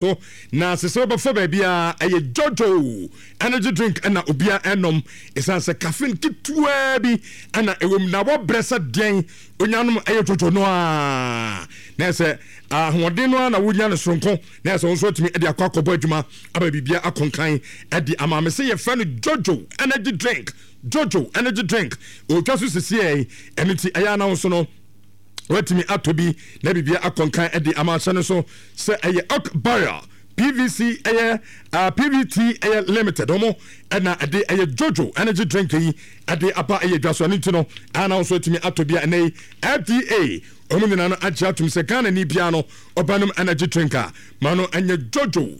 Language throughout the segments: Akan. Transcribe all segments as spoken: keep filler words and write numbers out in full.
So na sɛ sɛ wobɛfa baabi a ɛyɛ Jojo Energy Drink ɛna obia ɛnom, ɛsiane sɛ caffeine ketewaa bi ɛna ɛwɔ mu na wɔbrɛ sɛ deɛn onyanom ɛyɛ Jojo no a na ɛsɛ ahoɔden no a na wonya no soronko na ɛsɛ wo nso atumi de akɔ akɔbɔ adwuma aba biribia akɔnkan ɛde ama me sɛ yɛfrɛ no Jojo Energy Drink. Jojo Energy Drink ɔtwa so sisiɛ, ɛno nti ɛyɛ ana wo so no watumi atɔ bi na biribia akɔnkan de ama ahyɛ no so sɛ ɛyɛ Oak Barrier P V C ɛyɛ uh, P V T ɛyɛ Limited ɔmo ɛna ɛde ɛyɛ Jojo Energy Drink yi ɛde aba ɛyɛ dwa so. Ɛno nti no ana nso atumi atɔ bi a ɛnɛ yi F D A ɔmo nyinaa no agye atum sɛ Ghana ni biara no ɔbɛnom energy drink a ma no ɛnyɛ Jojo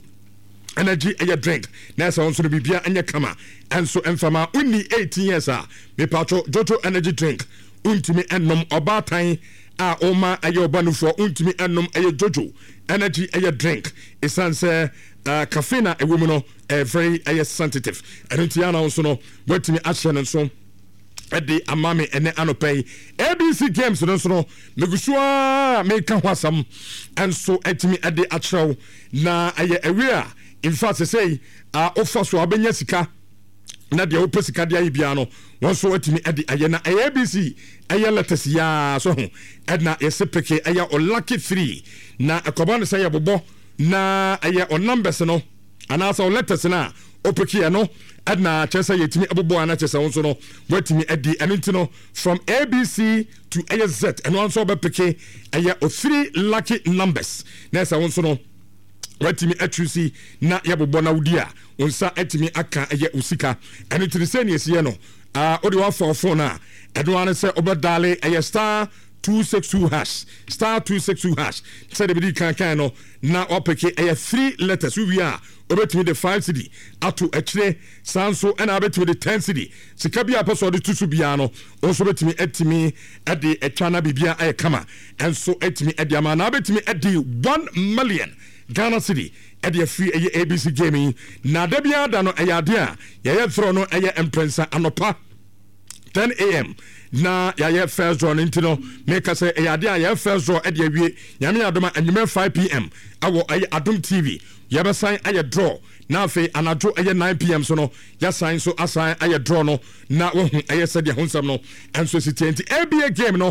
Energy ɛyɛ drink na ɛsɛ wɔn nso no biribia ɛnyɛ kama. Ɛnso mfama wonni eighteen years a, mepatwo, Jojo Energy Drink wontumi ɛnom. Ɔbaatan a ɔma ɛyɛ ɔba nufoɔ wontumi ɛnom ɛyɛ Jojo Energy ɛyɛ drink, ɛsiane sɛ uh, caffeine a ɛwɔ mu no ɛyɛ very ɛyɛ sensitive. Ɛno nti ana nso no watumi ahyɛ no nso ɛde ama me ɛnɛ anɔpɛ yi. A B C Games no nso no megu so a meka ho asɛm ɛnso atumi ɛde akyerɛw na ɛyɛ ɛwi a in fact sɛ a wofa so a wobɛnya sika na deɛ wopɛ sika de ayɛ biara no wɔn nso atumi de ayɛ. Na ɛyɛ A B C ɛyɛ letters yaa so ho ɛna yɛsɛ pick ɛyɛ o lucky three na ɛkɔba no sɛ yɛbobɔ na ɛyɛ o numbers no anaasɛ o letters no a opick yɛ no ɛna kyerɛ sɛ yɛtumi ɛbobɔ ana kyerɛ sɛ wɔn nso no wɔatumi adi. Ɛno nti no from A B C to ɛyɛ Z, ɛno nso wɔbɛpick ɛyɛ o three lucky numbers na ɛsɛ wɔn nso no watumi atwi si na yɛbobɔ na wodi a wo nsa atumi aka ɛyɛ wo sika. Ɛno nti no sɛ ne ɛsiɛ no wode wafa phone a ɛno ara ne sɛ wobɛdial ɛyɛ star two six two hash, star two six two hash sɛdeɛ bɛdi kan kan no na wapick ɛyɛ three letters. Wowie a wobɛtumi de five cedi ato akyire, saa nso ɛna wobɛtumi de ten cedi. Sika bi a pɛ sɛ ɔde to so biara no wo nso wobɛtumi atumi de atwa na biribia ayɛ kama ɛnso atumi de ama na wobɛtumi de one million Ghana cedi ɛde afiri ɛyɛ A B C game yi. Na da biara da no ɛyɛ adeɛ a yɛyɛ draw no ɛyɛ mprɛnsa. Anɔpa ten a m na yɛayɛ first draw no. Nti no meka sɛ ɛyɛ adeɛ a yɛyɛ first draw ɛde awie. Nyame adom a anwummerɛ five p m ɛwɔ ɛyɛ Adom T V yɛbɛsan ayɛ draw na afei anadwo ɛyɛ nine p m so no yɛasan so asan ayɛ draw no na wahu ɛyɛ sɛdeɛ ho nsɛm no ɛnso si tie. Nti A B A game no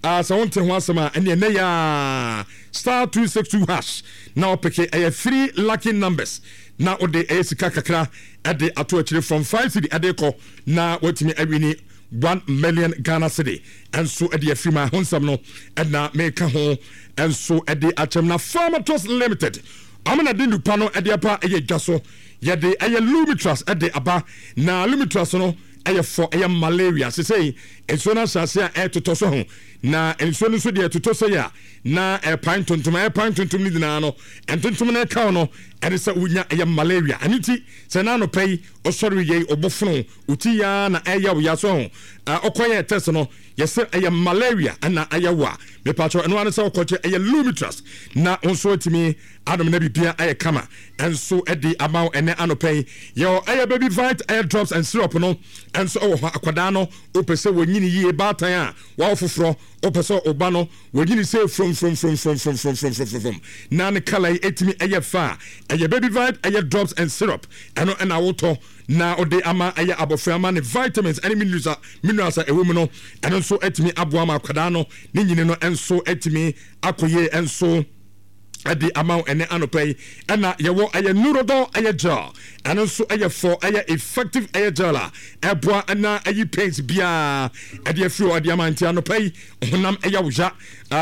uh, sɛ wonte ho asɛm a ɛneɛ ɛnɛ yɛ star two six two hash na ɔpick ɛyɛ three lucky numbers na wode ɛyɛ sika kakra ɛde ato akyire from five cedi ɛde kɔ na watumi awin one million Ghana cedi ɛnso ɛde afiri ma ho nsɛm no ɛna meka ho ɛnso ɛde akyɛm. Na Pharmatos Limited ɔmo na de nupa no ɛde aba ɛyɛ dwa so. Yɛde ɛyɛ Lumitras ɛde aba na Lumitras no ɛyɛ fɔ ɛyɛ malaria. Sesei nsuo no ahyɛ a ɛtotɔ so ho na nsuo no nso deɛ ɛtotɔ sɛ yɛ a na ɛpan ntontom ɛpan ntontom no nyinaa no ntontom no ɛkaw no ɛne sɛ wonya ɛyɛ malaria. Ɛno nti sɛ n'anɔpɛ yi ɔsɔre yɛ ɔbɔfono oti yaa na ɛyɛ wo ya so ho ɔkɔyɛ test no yɛsɛ ɛyɛ malaria ɛna ɛyɛ wo a, mepatwɛ, ɛno ara sɛ ɔkɔkyɛ ɛyɛ Lumitras na nso atumi adom na biribia ayɛ kama ɛnso ɛde ama wo. Ɛnɛ anɔpɛ yi yɛwɔ ɛyɛ Baby Vite ɛyɛ drops and syrup no ɛnso ɛwɔ hɔ. Akwadaa no wopɛ sɛ wɔnyini yie, baatan a wɔawo foforɔ wopɛ sɛ ɔba no wɔnyini sɛ fromfromfromfromfromfromfromfrom na ne colour yi ɛtumi ɛyɛ fa a, ɛyɛ Baby Vite ɛyɛ drops and syrup ɛno ɛna wotɔ na ɔde ama ɛyɛ abɔfra ama ne vitamins ɛne minerals a minerals a ɛwɔ mu no ɛno nso ɛtumi aboa ma akwadaa no ne nyini no ɛnso ɛtumi akɔ yie ɛnso ɛde ama wo. Ɛnɛ anɔpɛ yi ɛna yɛwɔ ɛyɛ Neurodol ɛyɛ gel. Ɛno nso ɛyɛ fɔ ɛyɛ effective ɛyɛ gel a ɛboa ɛna ɛyi pains biara ɛde afiri hɔ ɛde ama. Nti anɔpɛ yi honam ɛyɛ wo ya,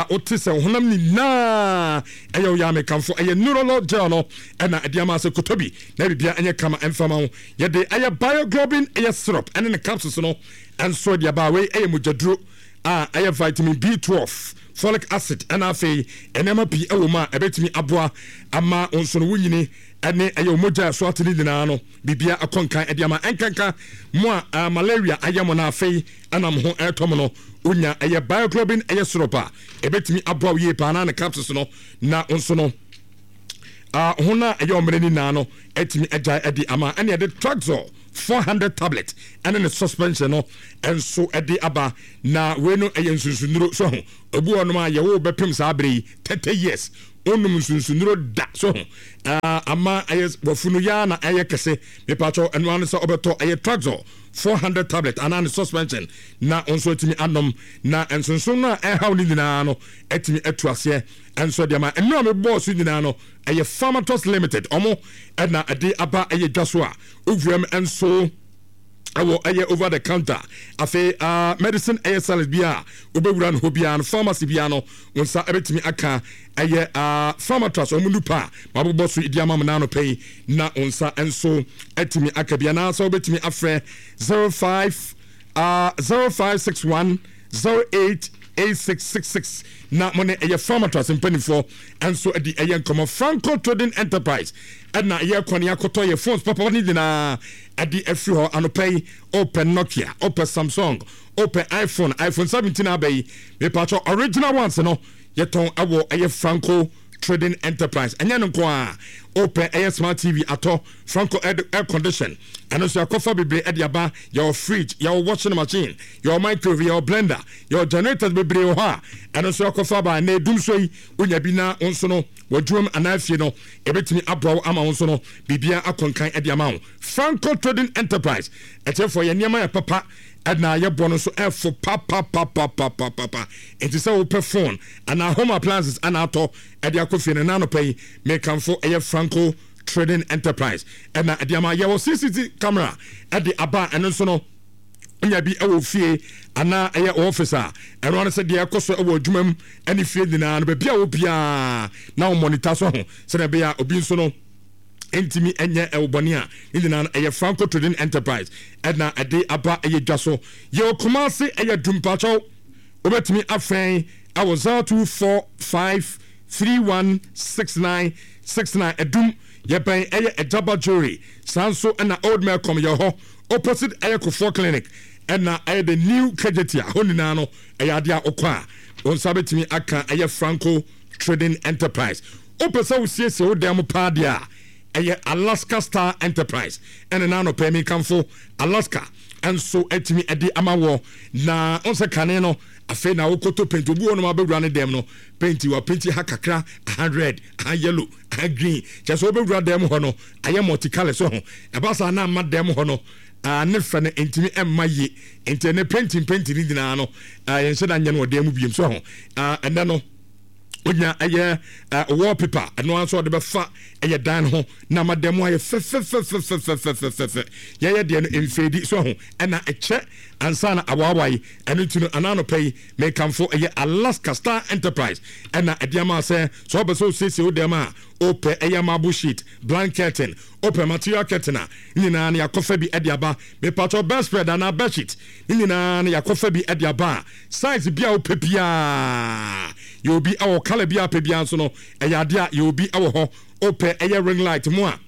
wote sɛ honam nyinaa ɛyɛ wo ya, mekamfo ɛyɛ Neurodol gel no ɛna ɛde ama sɛ kotɔ bi na biribia ɛnyɛ kama ɛmfama wo. Yɛde ɛyɛ Bioglobin ɛyɛ syrup ɛne ne capsules no ɛnso ɛde aba. Wei ɛyɛ mogyaduro a ɛyɛ vitamin B twelve, folic acid ɛna afei nneɛma pii ɛwɔ mu a ɛbɛtumi aboa ama nso no wonyini ɛne ɛyɛ mogya ɛso ate ne nyinaa no biribia akɔ nkan ɛde ama. Ɛnkanka mo a malaria ayɛ mo no afei ɛna mo ho ɛretɔ mo no, wonya ɛyɛ Bioglobin ɛyɛ syrup a ɛbɛtumi aboa wo yie paa na ne capsules no na nso no ho no a ɛyɛ ɔmmerɛ no nyinaa no ɛtumi agyae ɛde ama. Ɛne ɛde Traxol four hundred tablet ɛne ne suspension no ɛnso ɛde aba na wei no ɛyɛ nsunsunduro so ho. Obi wɔ nom a yɛwo bɛpem saa bere yi thirty years Wonum nsunsunduro da so ho ama ɛyɛ wafunu yaa na ɛyɛ kɛse. Mepatwɔ, ɛno ano sɛ ɔbɛtɔ ɛyɛ Traxol four hundred tablet anaa ne suspension na nso atumi anom, na nsonson no a ɛhaw no nyinaa no atumi atu aseɛ. Ɛnso deɛ ma ɛno a mebɔɔ so nyinaa no, ɛyɛ Pharmatos Limited ɔmo ɛna ɛde aba ɛyɛ dwa so a owuram nso ɛwɔ ɛyɛ over the counter. Afei uh, medicine ɛyɛ salad bi a wobɛwura no hɔ biara no, pharmacy biara no, wo nsa ɛbɛtumi aka ɛyɛ uh, Pharmatrust ɔmo nupa a mabobɔ so di ama mo naano pɛ yi, na wo nsa nso atumi aka bi, anaasɛ wobɛtumi afrɛ zero five uh, zero five six one zero eight eight six six six na mo ne ɛyɛ Pharmatrust mpanimfoɔ nso de ɛyɛ nkɔmɔ. Franco Trading Enterprise ɛna ɛyɛ kɔne akɔtɔ yɛ phones papa ne nyinaa ɛde afiri hɔ anɔpɛ yi. Ɔpɛ Nokia, ɔpɛ Samsung, ɔpɛ iPhone, iPhone seventeen aba yi, mepatwɔ, original ones no yɛtɔn ɛwɔ ɛyɛ Franco Trading Enterprise. Ɛnyɛ no nko a, ɔpɛ ɛyɛ smart T V atɔ, Franco air, air condition ɛno nso yɛakɔfa bebree ɛde aba. Yɛwɔ fridge, yɛwɔ washing machine, yɛwɔ microwave, yɛwɔ blender, yɛwɔ generators bebree wɔ hɔ a ɛno nso yɛakɔfa aba. Na edum so yi, wonya bi na wo nso no wɔdwuam anaa fie no, ɛbɛtumi aboa wo ama wo nso no biribia akɔnkan ɛde ama wo. Franco Trading Enterprise ɛkyɛfoɔ, yɛ nneɛma yɛ papa ɛna yɛbɔ no nso ɛfo papapapapapapa. Nti sɛ wopɛ phone anaa home appliances ana atɔ ɛde akɔ fie no, nanɔpɛ yi mekamfo ɛyɛ Franco Trading Enterprise ɛna ɛde ama. Yɛwɔ C C T V camera ɛde aba. Ɛno nso no, nya bi ɛwɔ fie anaa ɛyɛ office a, ɛno ano sɛ deɛ ɛkɔ so ɛwɔ adwuma mu ɛne fie nyinaa no, baabi a wɔ biara na wɔn monitor so ho, sɛdeɛ ɛbɛyɛ a obi nso no ntumi ɛnyɛ ɛwɔ bɔne a ne nyinaa no, ɛyɛ Franco Trading Enterprise ɛna ɛde aba ɛyɛ dwa so. Yɛwɔ Kumase, ɛyɛ Dumpakyɛw. Wobɛtumi afɛn ɛwɔ zero two four five three one six nine six nine. Ɛdum, yɛbɛn ɛyɛ Ɛgyaba Jewelry. Saa nso ɛna Old Melcom yɛ hɔ opposite ɛyɛ Kofoɔ Clinic, ɛna ɛyɛ the new Kejetia hɔ nyinaa no. Ɛyɛ adeɛ a wokɔ a, wɔn nsa bɛtumi aka ɛyɛ Franco Trading Enterprise. Wopɛ sɛ wosiesie wo dan mu paa deɛ a, ɛyɛ Alaska Star Enterprise ɛne n'anɔpɛ mi kamfo Alaska nso atumi ɛde ama wɔ. Na ɔn sɛ kane no, afei na wokɔtɔ paint, obi wɔ nom abɛwura ne dɛm no, paint wa paint ha kakra, aha red, aha yellow, aha green, kyerɛ sɛ wobɛwura dɛm hɔ no ayɛ multicolour so ho. Ɛba saa na ama dɛm hɔ no uh, ne fɛ no ntumi ɛmma yie. Nti ɛnɛ painting painting ne nyinaa no, uh, yɛnhyɛ da nyɛ no wɔ dan mu biem so ho. uh, ɛnɛ no wonya ɛyɛ uh, wallpaper, ɛno nso ɔde bɛfa ɛyɛ dan ho na ama dan mu ayɛ fɛfɛfɛfɛfɛfɛfɛ. Yɛyɛ deɛ no mfeedi so ho, ɛna ɛkyɛ ansa na awaawae. Ɛno nti no, ananɔpɛ yi mekamfo ɛyɛ Alaska Star Enterprise ɛna ɛde ama sɛ sɛ ɔbɛ sɛ osiesie wo dɛm a, wopɛ ɛyɛ marble sheet, blank curtain, wopɛ material curtain a, ne nyinaa no yɛakɔfa bi ɛde aba. Mepatɔ bedspread anaa bedsheet, ne nyinaa no yɛakɔfa bi ɛde aba a size bi a wopɛ biaa yɛ obi ɛwɔ, colour bi a wopɛ biaa nso no, ɛyɛ adeɛ a yɛ obi ɛwɔ hɔ. Wopɛ ɛyɛ ring light mu a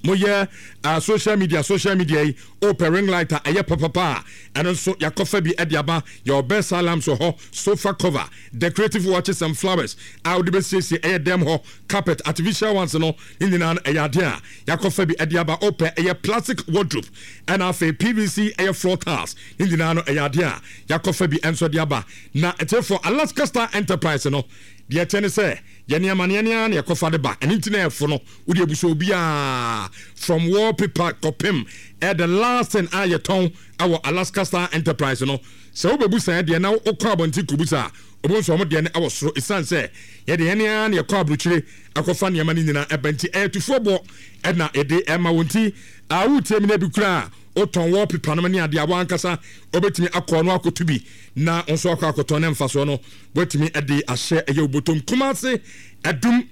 moyɛ uh, social media social media yi, wopɛ ring light a ɛyɛ papapa a, ɛno nso yɛakɔfa bi ɛde aba. Yɛwɔ bedside lamps wɔ hɔ, sofa cover, decorative watches and flowers a wode bɛsiesie ɛyɛ dɛm hɔ, carpet, artificial ones no, ne nyinaa no ɛyɛ adeɛ a yɛakɔfa bi ɛde aba. Wopɛ ɛyɛ plastic wardrobe, ɛna afei P V C ɛyɛ floor tiles, ne nyinaa no ɛyɛ adeɛ a yɛakɔfa bi ɛnso de aba. Na ɛkyɛfoɔ Alaska Star Enterprise no deɛ, ɛkyɛ ne sɛ yɛne amanneɛ ne ara na yɛkɔfa de ba. Ɛno nti na ɛfo no wode abuso obiaa from wallpaper kɔpem ɛ the last thing a yɛtɔn ɛwɔ Alaska Star Enterprise no. Sɛ wobɛbu saa deɛ na wokɔ abɔnten kɔbu saa, ɔbo nso ɔmo deɛ no ɛwɔ soro, ɛsiane sɛ yɛde yɛne ara na yɛkɔ aburokyire akɔfa nneɛma no nyinaa ɛba. Nti ɛyɛ tufoɔ boɔ ɛna yɛde ɛma wɔn. Nti a wotie mi no bi koraa, wotɔn wallpaper no ne adeɛ a, wankasa wobɛtumi akɔ no akɔto bi na nso akɔ akɔtɔn ne mfasoɔ no woatumi de ahyɛ ɛyɛ obotom. Kumase, Ɛdum,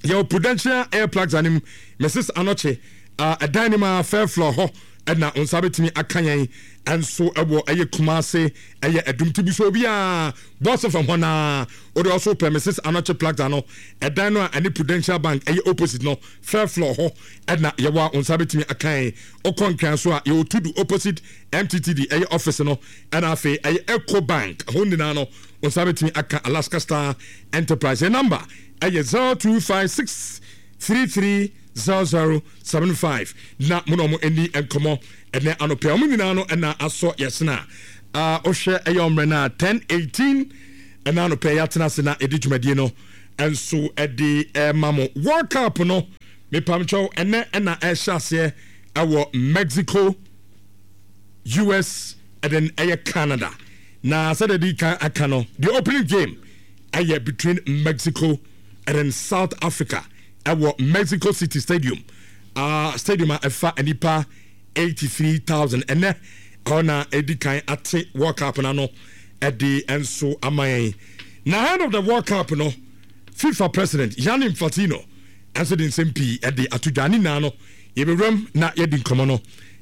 yɛwɔ Prudential Air Plugs anim, Missus Anɔkye ɛdan no mu a fair floor hɔ ɛna nsa bɛtumi aka yɛn ɛnso ɛwɔ ɛyɛ Kumase, ɛyɛ Ɛdum. Ti bi so obiara bɔɔse fam hɔ naa wode ɔso pɛ Missus Anɔkye Plaza no, ɛdan no a ɛne Prudential Bank ɛyɛ opposite no, fair floor hɔ ɛna yɛwɔ a nsa bɛtumi aka yɛn. Ɔkɔ Nkran so a, yɛwɔ Tudu opposite M T T D ɛyɛ office no, ɛna afei ɛyɛ Eco Bank hɔ nyinaa no, nsa bɛtumi aka Alaska Star Enterprise. Yɛ number ɛyɛ zero two five six three three zero zero seven five na mo na ɔmo ani nkɔmɔ ɛnɛ anɔpɛ. Ɔmo nyinaa no ɛna asɔ yɛsena a ɔhwɛ ɛyɛ ɔmmerɛ no a ten eighteen ɛna anɔpɛ yɛatena ase na yɛde dwumadie no. Nso ɛde ɛma mo World Cup no, mepamkyɛw, ɛnɛ ɛna ɛhyɛ aseɛ ɛwɔ Mexico, U S ɛde ɛyɛ Canada. Na sɛdeɛ di kan aka no, the opening game ɛyɛ between Mexico and then South Africa ɛwɔ Mexico City Stadium, uh, stadium a ɛfa nipa eighty-three thousand. Ɛnɛ ɛhɔ na ɛdi kan ate World Cup no ano ɛde nso ama yɛn. Na ahead of the World Cup no, FIFA President Gianni Infantino ɛnso de nsɛm pii ɛde ato dwa. Ne nyinaa no yɛbɛwuram na yɛdi nkɔmmɔ no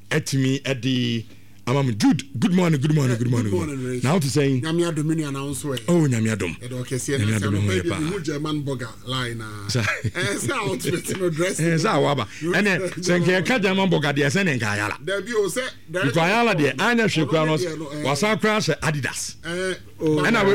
ɛtumi ɛde ama mo. Jude, good morning, good morning, good morning. Good morning. Na wote sɛn? Nyame adom, me nua, na wo nso ɛ? Oh, Nyame adom. Ɛdɔ kɛseɛ. Nyame na sɛ adom, ho anɔpa yɛ bi paa. mehu German burger line na Sa- ɛɛ sɛ outfit no, dress. Ɛɛ, sɛ awɔ aba ɛnɛ sɛ nka yɛka German burger deɛ, sɛ ne nka Ayala. Dabi o, sɛ because Ayala deɛ anyɛ hwee koraa no, ɔno ne deɛ no, ɛɛ, wasan koraa hyɛ Adidas. Ɛɛ ɛna we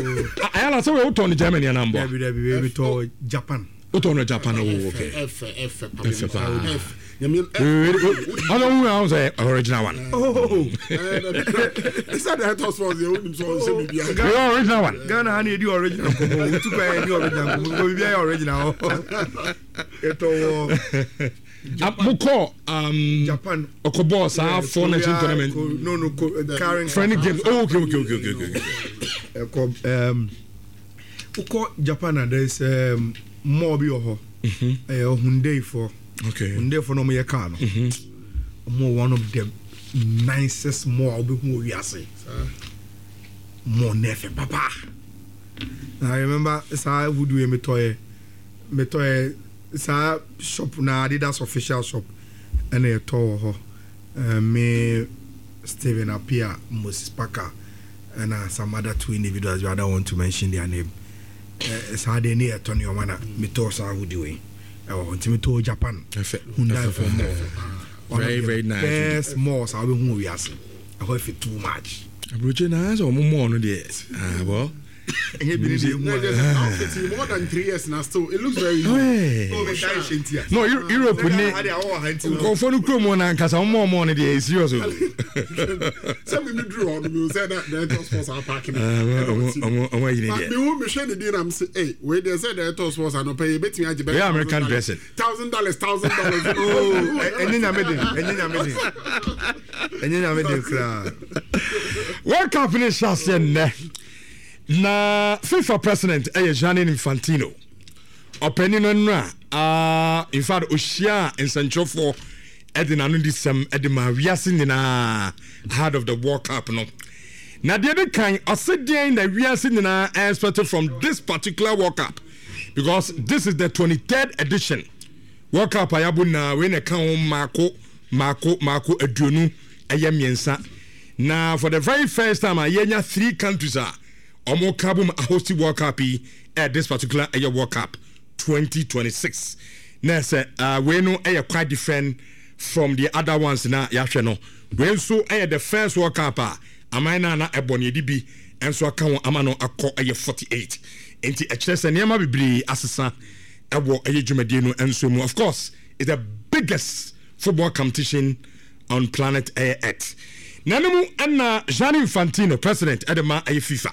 Ayala sɛ wei wotɔn no Germany anaa mbɔ? Dabi, dabi, wei metɔ Japan. Wotɔn no Japan? Oh, okay. Ɛfɛ, ɛfɛ. Ɛfɛ paa. Ɛfɛ, Nyame. Ɔno hu ahun sɛ original one. Oh. Ɛsɛ director sports yɛ wonim sɛ ɔnhyɛ biribiara. Wei original one. Ghana ha na yɛdi original nkɔmmɔ, wotu kwan yɛdi original nkɔmmɔ, nkɔ biribiara yɛ original hɔ. Ɛtɔ wɔ Ah, mokɔ um, Japan. Ɔkɔbɔɔ saa Four Nation Korea, tournament. Ko- no no ko, Karen. Friendly games. Oh, okay okay okay okay okay ɛkɔ um, wokɔ Japan a, there is um, mall bi wɔ hɔ, ɛyɛ Hyundai foɔ. Okay hyundai foɔ na ɔmo yɛ car no. Ɔmo wɔ one of the nicest mall a wobɛhu wɔ wiase. Mall na ɛfɛ papa. Na I remember saa hoodie yɛ metɔyɛ metɔyɛ saa shop na Adidas official shop ɛna yɛtɔ wɔ hɔ. uh, me Stephen Appiah, Moses Parker ɛna some other two individuals, but I don't want to mention their name. uh, saa deɛ ne yɛtɔ nneɛma na metɔɔ saa hoodie wei ɛwɔ hɔ, nti metɔɔ Japan Ɛfɛ. Hyundai Ɛfɛ, for ɛfɛ, mall. One Very, of the very nice. best malls a wobɛhu wɔ wiase. Ɛhɔ ɛfɛ too much. Aburokye na sɛ ɔmo mɔɔ no deɛ, ah, well. Ɛnyɛ bi ne deɛ Na ɛhu just outfit yi, more than three years na still it looks very new. Hey. No, Eu- Europe ne nkurɔfoɔ no kurom hɔ na ankasa ɔmo mɔɔ no deɛ, serious o. Sɛ mi mi duru hɔ no, mi sɛ na director sports apaaki no. Ah, ɔmo ɔmo ɔmo ayi ne But deɛ. mi hu mi hwɛ ne din na mi sɛ, ee, wei deɛ, sɛ director sports anɔpɛ yi ebetumi agye bɛ Wei American dressing. Thousand dollars, thousand dollars. Ɛnyɛ Nyame den, ɛnyɛ Nyame den, ɛnyɛ Nyame den koraa. World Cup ne hyɛ aseɛ nnɛ na FIFA President ɛyɛ Gianni Infantino. Ɔpanin no nnora uh, in fact ɔhyia nsɛnkyerɛfoɔ ɛde n'ano di sɛm ɛde ma wiase nyinaa ahead of the World Cup no. Na deɛ de kan, ɔse deɛn na wiase nyinaa expect from this particular World Cup? Because this is the twenty-third edition World Cup a yɛabɔ nyinaa, wei na ɛka ho maako maako maako aduonu ɛyɛ mmiɛnsa. Na for the very first time a yɛnya three countries a ɔmo ka bom ahost World Cup yi ɛ this particular ɛyɛ World Cup twenty twenty-six. Na sɛ uh, wei no ɛyɛ quite different from the other ones na yɛahwɛ no. Wei nso ɛyɛ the first World Cup a aman no a na ɛbɔ no yɛde bi nso aka ho ama no akɔ ɛyɛ forty-eight. Nti ɛkyerɛ sɛ nneɛma bebree asesa ɛwɔ ɛyɛ dwumadie no nso mu. Of course, it's the biggest football competition on planet ɛyɛ Earth. Na no mu ɛna Gianni Infantino, president ɛde ma ɛyɛ FIFA,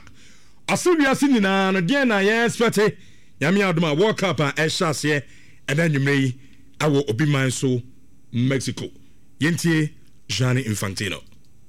ɔse wiase nyinaa no, deɛn na yɛ expect? Nyame adom a, World Cup a ɛhyɛ aseɛ ɛna anwummerɛ yi ɛwɔ obi man so, Mexico. Yɛntie Gianni Infantino.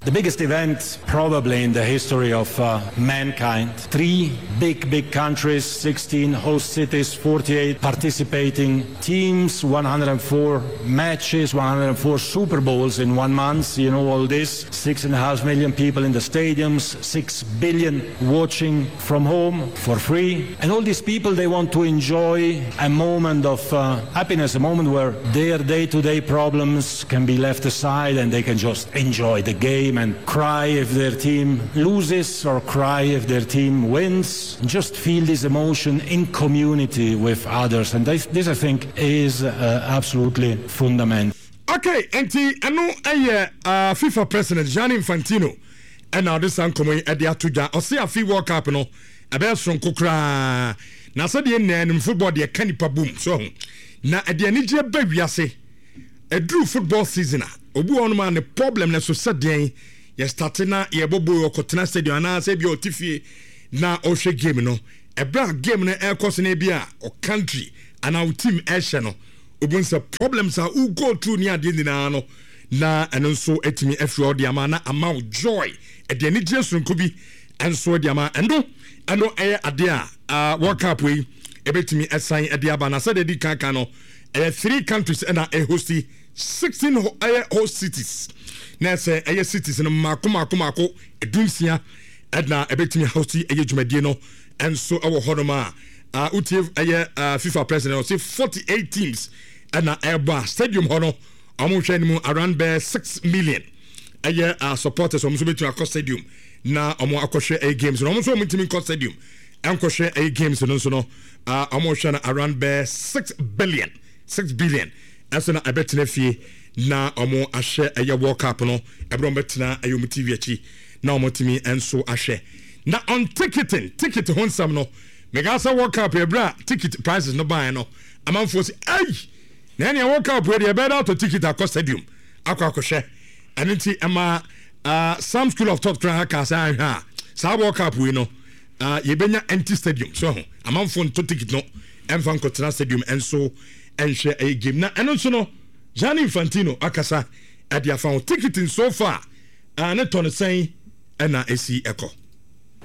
The biggest event probably in the history of uh, mankind. Three big, big countries, sixteen host cities, forty-eight participating teams, one hundred four matches, one hundred four Super Bowls in one month. You know all this. Six and a half million people in the stadiums, six billion watching from home for free. And all these people, they want to enjoy a moment of uh, happiness, a moment where their day-to-day problems can be left aside and they can just enjoy the game and cry if their team loses or cry if their team wins. Just feel this emotion in community with others. And this, this I think, is uh, absolutely fundamental. Okay, nti ɛno ɛyɛ uh, FIFA President Gianni Infantino ɛna ɔde saa nkɔmmɔ yi ɛde ato dwa. Ɔse afi World Cup no ɛbɛyɛ soronko koraa na sɛdeɛ nnaa nim, football deɛ ka nipa bom so ho na ɛde anigyeɛ ba wiase. Ɛduru football season a, obi wɔ hɔnom a ne problem no so sɛ deɛn yɛstart na yɛbɔ ball, ɔkɔtena stadium anaasɛ bia ɔte fie na ɔhwɛ game no. Ɛberɛ a game no ɛrekɔ so no, bi a o country anaa o team ɛhyɛ no, obu sɛ problems a wo go through ne adeɛ nyinaa no, na ɛno nso atumi afiri ɔde ama na ama wo joy, ɛde anigye sononko bi nso de ama. Ɛno ɛno ɛyɛ adeɛ a World Cup yi ɛbɛtumi ɛsan ɛde aba. Na sɛdeɛ di kankan no, ɛyɛ three countries ɛna ɛhosti sixteen, ɛyɛ host cities, na ɛsɛ ɛyɛ cities no mmaako mmaako mmaako edunsia ɛna ɛbɛtumi hosti ɛyɛ dwumadie no ɛnso ɛwɔ hɔnom. A wotie ɛyɛ FIFA president, ɔsɛ forty eight teams ɛna ɛbɔ a stadium hɔ no, ɔmo hwɛ no mu around bɛɛ six million ɛyɛ uh, supporters. Ɔmo nso bɛtumi akɔ stadium na ɔmo akɔhwɛ ɛyɛ games no. Ɔmo nso ɔmo ntumi nkɔ stadium ɛnkɔhwɛ ɛyɛ games no nso no, ɔmo hwɛ no around bɛɛ six billion six billion ɛso na ɛbɛtena fie na ɔmo ahwɛ ɛyɛ World Cup no. Ɛbɛrɛ ɔmo bɛtena ɛyɛ ɔmo T V akyi na ɔmo tumi nso ahwɛ. Na on ticketing, ticket ho nsɛm no, mɛka sɛ World Cup, ɛberɛ a ticket prices no baeɛ no, amanfoɔ sɛ ɛyi na ɛnea World Cup yɛ deɛ, ɛbɛyɛ dɛ atɔ ticket akɔ stadium akɔ akɔhwɛ. Ɛno nti ɛma uh, some school of thought koraa ka sɛ ahwɛ a, saa World Cup wei no, uh, yɛbɛnya empty stadium so ho, amanfoɔ nto ticket no ɛmfa nkɔtena stadium ɛnso ɛnhwɛ ɛyɛ game. Na ɛno nso no, Gianni Infantino akasa ɛde afa ho. Ticketing so far, uh, ne tɔ no sɛn ɛna ɛsi ɛkɔ?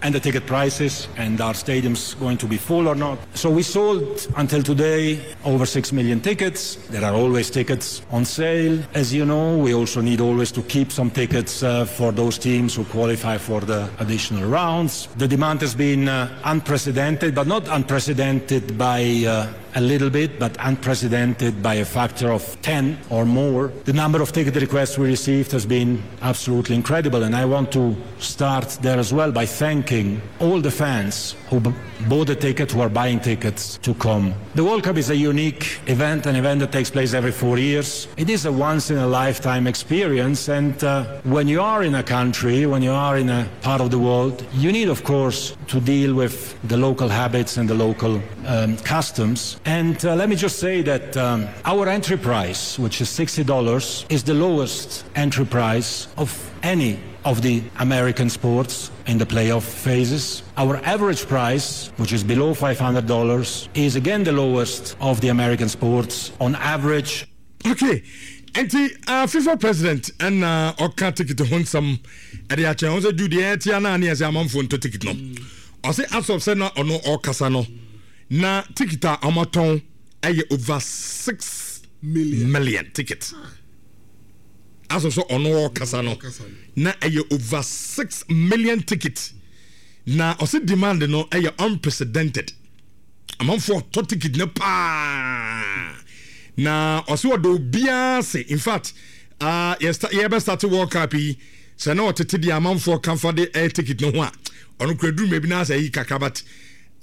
And the ticket prices, and are stadiums going to be full or not? So we sold until today over six million tickets. There are always tickets on sale. As you know, we also need always to keep some tickets uh, for those teams who qualify for the additional rounds. The demand has been uh, unprecedented, but not unprecedented by uh, a little bit, but unprecedented by a factor of ten or more. The number of ticket requests we received has been absolutely incredible, and I want to start there as well by thanking all the fans who b- bought a ticket, who are buying tickets to come. The World Cup is a unique event, an event that takes place every four years. It is a once in a lifetime experience, and uh, when you are in a country, when you are in a part of the world, you need, of course, to deal with the local habits and the local um, customs. And uh, let me just say that um, our entry price, which is sixty dollars, is the lowest entry price of any of the American sports in the playoff phases. Our average price, which is below five hundred dollars, is again the lowest of the American sports on average. Okay, nti uh, FIFA president ɛna ɔka ticket ho nsɛm ɛde akyɛn ho sɛ ju deɛ ɛtia naa ne yɛ sɛ amanfoɔ ntɔ ticket no. Ɔsɛ as of sɛ na ɔno ɔkasa no, na ticket a ɔmatɔn ɛyɛ over six million, million ticket. As of sɛ ɔno ɔkasa no, na ɛyɛ over six million ticket, na ɔsɛ demand no ɛyɛ unprecedented, amanfoɔ ɔtɔ ticket no paa, na ɔsɛ ɔdɔ obiara se in fact uh, yɛbɛ start World Cup yi sɛ na ɔtete deɛ amanfoɔ kamfa de ɛyɛ ticket no ho a, ɔno kura duru mɛbi na asɛ yi kakra, but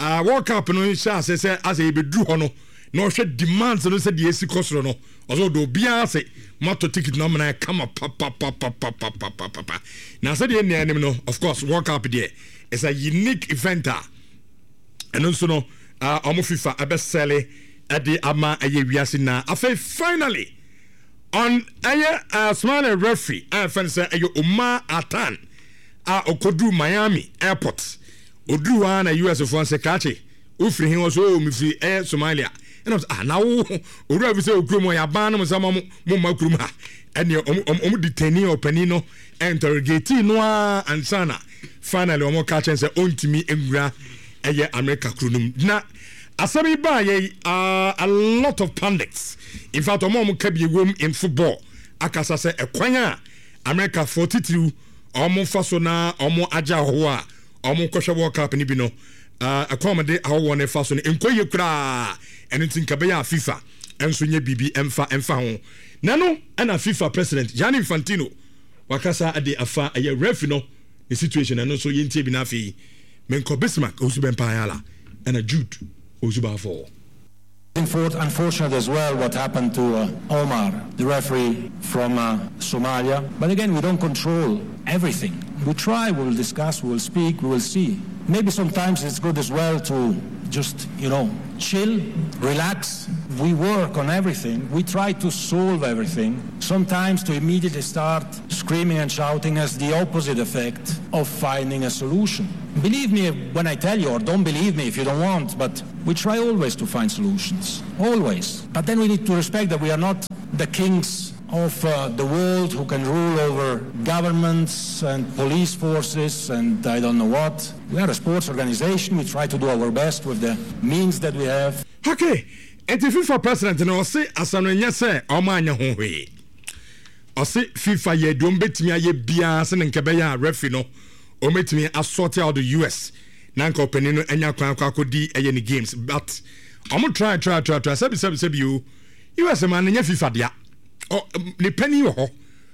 uh, World Cup no hyɛ ase sɛ asɛ yɛbɛduru hɔ no na ɔhwɛ demands no sɛ deɛ esi kɔ soro no, ɔsɛ ɔdɔ obiara se moatɔ ticket no amena kama papapapapapapapa. Na sɛdeɛ nnua anim no, of course, World Cup deɛ, it's a unique event a ɛno nso no ɔmo FIFA ɛbɛsɛle ɛde ama ɛyɛ wiase. Na afei finally on ɛyɛ uh, Somali referee a yɛfrɛ no sɛ ɛyɛ Omar Atan a ɔkɔduru Miami airport, ɔduru hɔ a na U S foɔ sɛ krakye, wofiri he? Wɔ so o, mefiri ɛyɛ Somalia. Ɛna sɛ ah, na wo owura fi sɛ okurom hɔ yɛaban no mo sɛ mo mo mma kurom ha. Ɛneɛ ɔmo ɔmo detain ɔpanin no, interrogate no a ansa na finally ɔmo ka kyɛn sɛ ɔntumi nwura ɛyɛ America kuro no mu. Na asɛm yi baa yɛ uh, a lot of pundits, in fact ɔmo a ɔmo ka bi ewom in football, akasa sɛ ɛkwan a America foɔ titiriw ɔmo fa so na ɔmo agye ahɔhoɔ a ɔmo kɔhwɛ World Cup no bi no, ɛkwan ɔmo de ahɔhoɔ no fa so no nkɔ yie koraa. Ɛno nti nka bɛyɛ a FIFA ɛnso nyɛ biribi ɛmfa ɛmfa ho. Na no ɛna FIFA president Gianni Infantino wakasa de afa ɛyɛ referee no ne situation. Ɛno nso yɛntie bi. Na afei menkɔ Bismarck Owusu Bɛmpa Ayala ɛna Jude Owusu Baafɔ. Unfortunate as well what happened to uh, Omar, the referee from uh, Somalia. But again, we don't control everything. We try, we will discuss, we will speak, we will see. Maybe sometimes it's good as well to just, you know, chill, relax. We work on everything. We try to solve everything. Sometimes to immediately start screaming and shouting has the opposite effect of finding a solution. Believe me when I tell you, or don't believe me if you don't want, but we try always to find solutions. Always. But then we need to respect that we are not the kings of uh, the world who can rule over governments and police forces and I don't know what. We are a sports organization. We try to do our best with the means that we have. Okay, nti FIFA president no, ɔse asano nyɛ sɛ ɔmo anyɛ ho hwee. Ɔse FIFA yɛ deɛ ɔmbɛtumi ayɛ biara sɛ ne nka bɛyɛ a referee no ɔmɛtumi asort out the U S na nka ɔpanin no anya kwan akɔ akɔdi ɛyɛ ne games, but ɔmo try try try try, sɛbi sɛbi sɛbi o, U S ma no nyɛ FIFA dea. Ɔ ne panin wɔ hɔ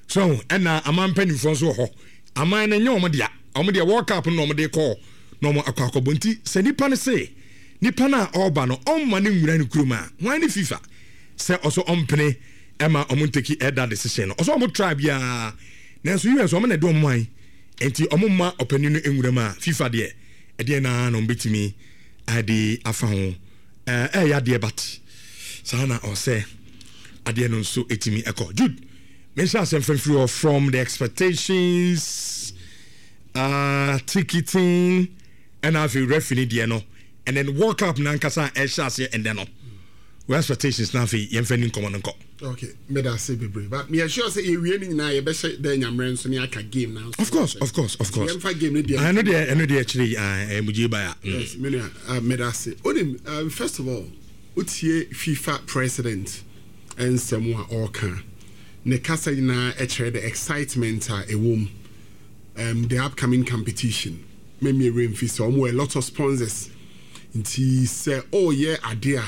so, ɛna aman mpanimfoɔ nso wɔ hɔ. Aman no nyɛ ɔmo dea. Ɔmo deɛ, World Cup no na ɔmo de kɔɔ na ɔmo akɔ akɔbɔ. Nti sɛ nipa no se nipa no a ɔreba no, ɔmma no nwura ne kurom a, wɔn ne FIFA sɛ ɔso ɔmpene ɛma ɔmo ntake ɛda decision no. Ɔsɛ ɔmo try biara, nanso U S ɔmo na ɛde ɔmo man, nti ɔmo mma ɔpanin no nwura mu a, FIFA deɛ, ɛdeɛ naa na ɔmo bɛtumi ade afa ho? ɛɛ ɛyɛ adeɛ, but saa na ɔsɛ adeɛ no nso ɛtumi ɛkɔ. Jude, menhyɛ asɛm fɛmfiri hɔ from the expectations, uh, ticketing, ɛna afei referee deɛ no, and then World Cup nankasa a ɛhyɛ aseɛ ɛndɛ no, wɔ expectations na afei yɛmfa ni nkɔmmɔ no nkɔ. Okay, meda ase bebree, but meyɛ sure sɛ yɛwie no nyinaa, yɛbɛhyɛ dɛ nyammerɛ nso ne aka game na. Of course, of course, of course. Yɛmfa game no deɛ. Ɛno deɛ ɛno deɛ akyire yi ɛɛ mugye baya. Yes, me nua, uh, meda ase. Onim, um, first of all, wotie FIFA president nsɛm a ɔreka, ne kasa nyinaa ɛkyerɛ the excitement a ɛwɔ mu, um, the upcoming competition. Mɛmi ewura mfi sɛ ɔmo wɔ a lot of sponsors, nti sɛ ɔreyɛ adeɛ a,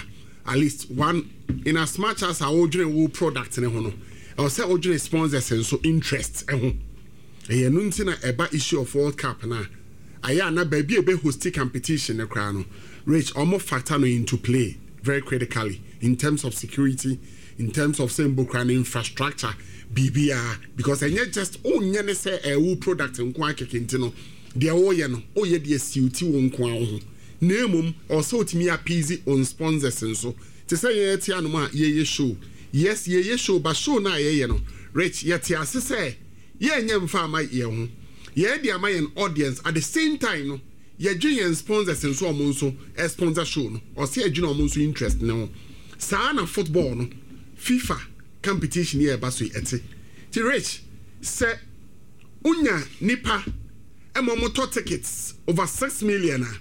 at least one, in as much as a wɔdwene wo product ne ho no, ɛwɔ sɛ wɔdwene sponsors nso interest ɛho. Ɛyɛ no nti na ɛba issue of World Cup na ayɛ ana baabi a ebe host competition ne koraa no, Rich, ɔmo factor no into play very critically in terms of security, in terms of sɛ mbo koraa no infrastructure, biribiara, because ɛnyɛ just onyɛ ne sɛ ɛwo product nko akeke. Nti no deɛ wɔyɛ no, ɔyɛ deɛ siwti wo nko ara ho, na emom ɔsɛ otumi appease on sponsors nso. Te sɛ yɛn te anom a yɛyɛ show, yes, yɛyɛ show, but show no a yɛyɛ no, Rich, yɛte ase sɛ yɛnyɛ mfa ama yɛn ho, yɛn de ama yɛn audience. At the same time no, yɛdwe yɛn sponsors nso, ɔmo nso sponsor show no, ɔsɛ yɛdwene ɔmo nso interest ne ho. Saa na football no, FIFA competition yɛ ɛba so yi ɛte. Ti Rich, sɛ wonya nipa ɛma ɔmo tɔ tickets over six million a,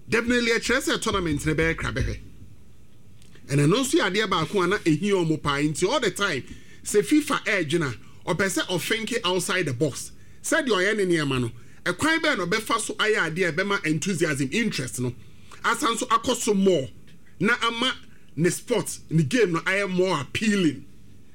definitely ɛkyerɛ sɛ tournament no bɛyɛ kra bɛhwɛ. Ɛna no nso yɛ adeɛ baako a na ehia ɔmo paa. Nti all the time sɛ FIFA ɛɛdwena, ɔpɛ sɛ ɔthink outside the box, sɛdeɛ ɔyɛ ne nneɛma no, ɛkwan bɛɛ na ɔbɛfa so ayɛ adeɛ a ɛbɛma enthusiasm, interest no asan so akɔ so more, na ama ne sport, ne game no ayɛ more appealing.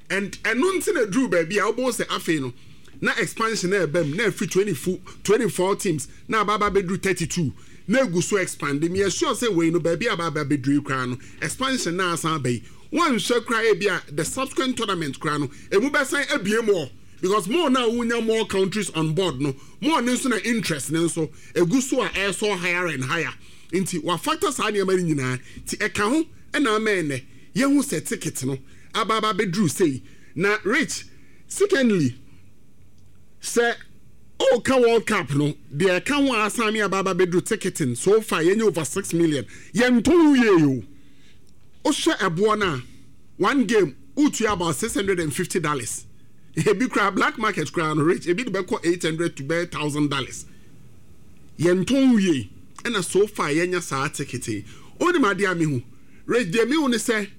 And ɛno nti na duru baabi a wobɛhu sɛ afei no na expansion na ɛbɛm na ɛfiri twenty four twenty four teams na aba aba bɛduru thirty two, na egu so expand. Mi sure sɛ wei no, baabi a aba aba bɛduru yi koraa no, expansion na asan aba yi, wɔnhwɛ koraa, ebi a the subsequent tournament koraa no, emu bɛsan abie more, because more na wonya more countries on board no, more ne nso na interest ne nso egu so a ɛsɔ higher and higher. Nti wafactor saa nneɛma no nyinaa, nti ɛka ho ɛna ama ɛnɛ yɛhu sɛ ticket no aba aba bɛduru sei. Na Rich, secondly, sɛ ɔka World Cup no deɛ, ɛka ho a asan mi aba aba bɛduru ticketing so far, yɛnyɛ over six million, yɛntɔn wie o. Wohwɛ ɛboɔ no a, one game wotua about six hundred and fifty dollars. Ebi koraa, black market koraa no, Rich, ebi de bɛkɔ eight hundred to bɛyɛ thousand dollars. Yɛntɔn wie, ɛna so far yɛnya saa ticket yi. Onim adeɛ a mehu, Rich, deɛ mehu ne sɛ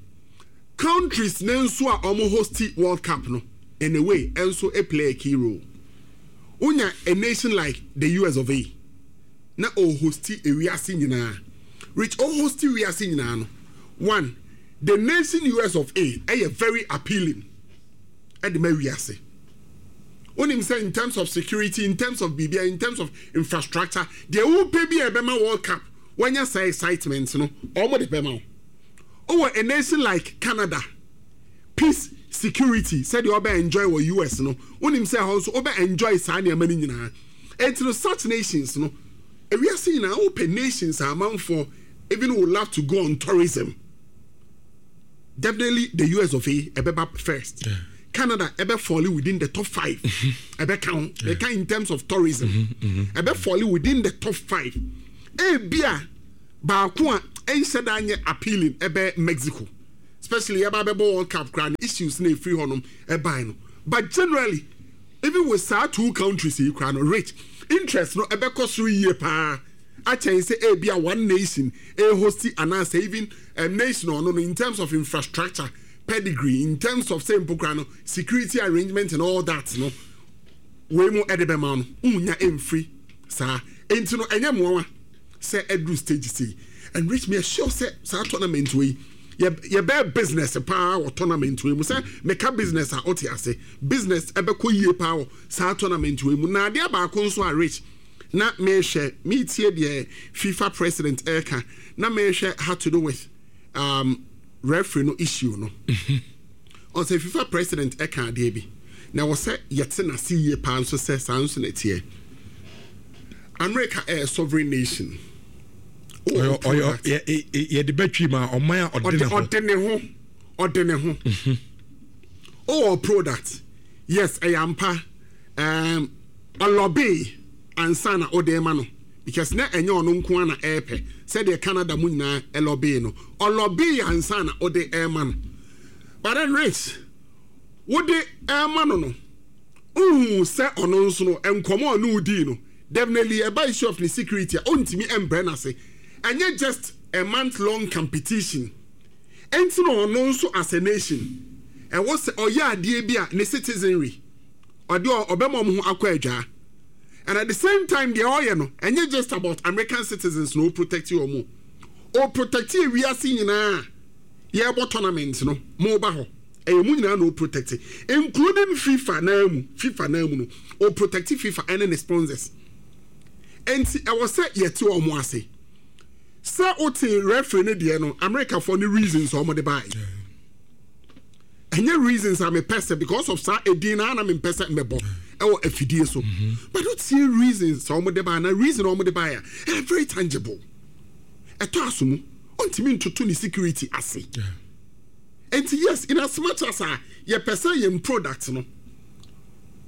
countries ne nso a wɔn host World Cup no, in a way nso play a key role. Wonya a nation like the U S of A na ɔhost ewiase nyinaa, Rich, ɔhost wiase nyinaa no, one, the nation U S of A ɛyɛ very appealing ɛde ma wiase. Wonim sɛ in terms of security, in terms of biribia, in terms of infrastructure, deɛ wopɛ bi a ɛbɛma World Cup wɔanya saa excitement no, ɔmo de bɛma wo. Wowɔ a nation like Canada, peace, security, sɛdeɛ ɔbɛ enjoy wɔ U S no, wonim sɛ ɛhɔ nso wobɛ enjoy saa nneɛma no nyinaa. Enti no, such nations no, ewiase nyinaa wopɛ nations a amanfoɔ even would love to go on tourism, definitely the U S of A ɛbɛba first. Yeah. Canada ɛbɛ fall within the top five. Ɛbɛ count, ɛka in terms of tourism, ɛbɛ fall within the top five. Ebia baako a ɛnhyɛ da nyɛ appealing ɛbɛ Mexico, especially yɛba bɛbɔ World Cup koraa no, issues na efiri hɔnom ɛban no. But generally, even with saa two countries yi koraa no, rich interest no ɛbɛkɔ soro yie paa akyɛn sɛ ebia one nation ɛhosti anaasɛ even um, nation ɔno no, in terms of infrastructure, pedigree, in terms of say mpo koraa no security arrangement and all that no, wei mu ɛde bɛma no wonya ɛmfiri saa. Enti no ɛnyɛ mmoawa sɛ ɛduru stage sei. And Rich, me sure sɛ saa tournament wei yɛbɛyɛ business paa wɔ tournament wei mu. Sɛ meka business a, wote ase, business ɛbɛkɔ yie paa wɔ saa tournament wei mu. Na adeɛ baako nso a, Rich, na mehwɛ metie deɛ FIFA president ɛreka na mehwɛ how to do with um, referee no issue no, ɔsɛ FIFA president ɛka adeɛ bi na wɔ sɛ yɛte n'ase yie paa nso sɛ saa nso na ɛteɛ. America ɛyɛ sovereign nation. Yɛde bɛtwi ma ɔman a ɔde ne ho. Ɔde ne ho, ɔde ne ho. Ɔwɔ product, yes, ɛyɛ ampa, um, ɔlobby ansa na ɔde ma no, because na ɛnyɛ ɔno nko ara na ɛɛpɛ sɛdeɛ Canada mu nyinaa ɛlobby no. Ɔlobby ansa na ɔde ɛɛma no. But then, Rich, wode ɛɛma no no wohu sɛ ɔno nso no nkɔmɔ a ɔne wodii no, definitely ɛba issue of ne security a, ɔntumi ɛmbrɛ n'ase. Ɛnyɛ just a month long competition ɛnti na ɔno nso as a nation ɛwɔ sɛ ɔyɛ adeɛ bi a ne citizenry ɔde ɔbɛma ɔmo ho akɔ adwaa. And at the same time, deɛ ɔyɛ no ɛnyɛ just about American citizens na ɔprotect wɔn, ɔprotect ewiase nyinaa. Yɛrebɔ tournament no, mo ba hɔ, ɛyɛ mu nyinaa na ɔprotect, including FIFA naa mu. FIFA naa mu no, ɔprotect FIFA ɛne ne sponsors. Nti ɛwɔ sɛ yɛte wɔn ase sɛ wote referee no deɛ no, Americafoɔ ne reasons a wɔde baeɛ ɛnyɛ reasons a mepɛ sɛ, because of saa edin na ana mempɛ sɛ mɛbɔ ɛwɔ afidie so. But wotie reasons a wɔde baeɛ na reason a wɔde baeɛ a, ɛyɛ very tangible, ɛtɔ aso mu, ɔntumi ntoto ne security ase. Nti yes, in as much as a yɛpɛ sɛ yɛn product no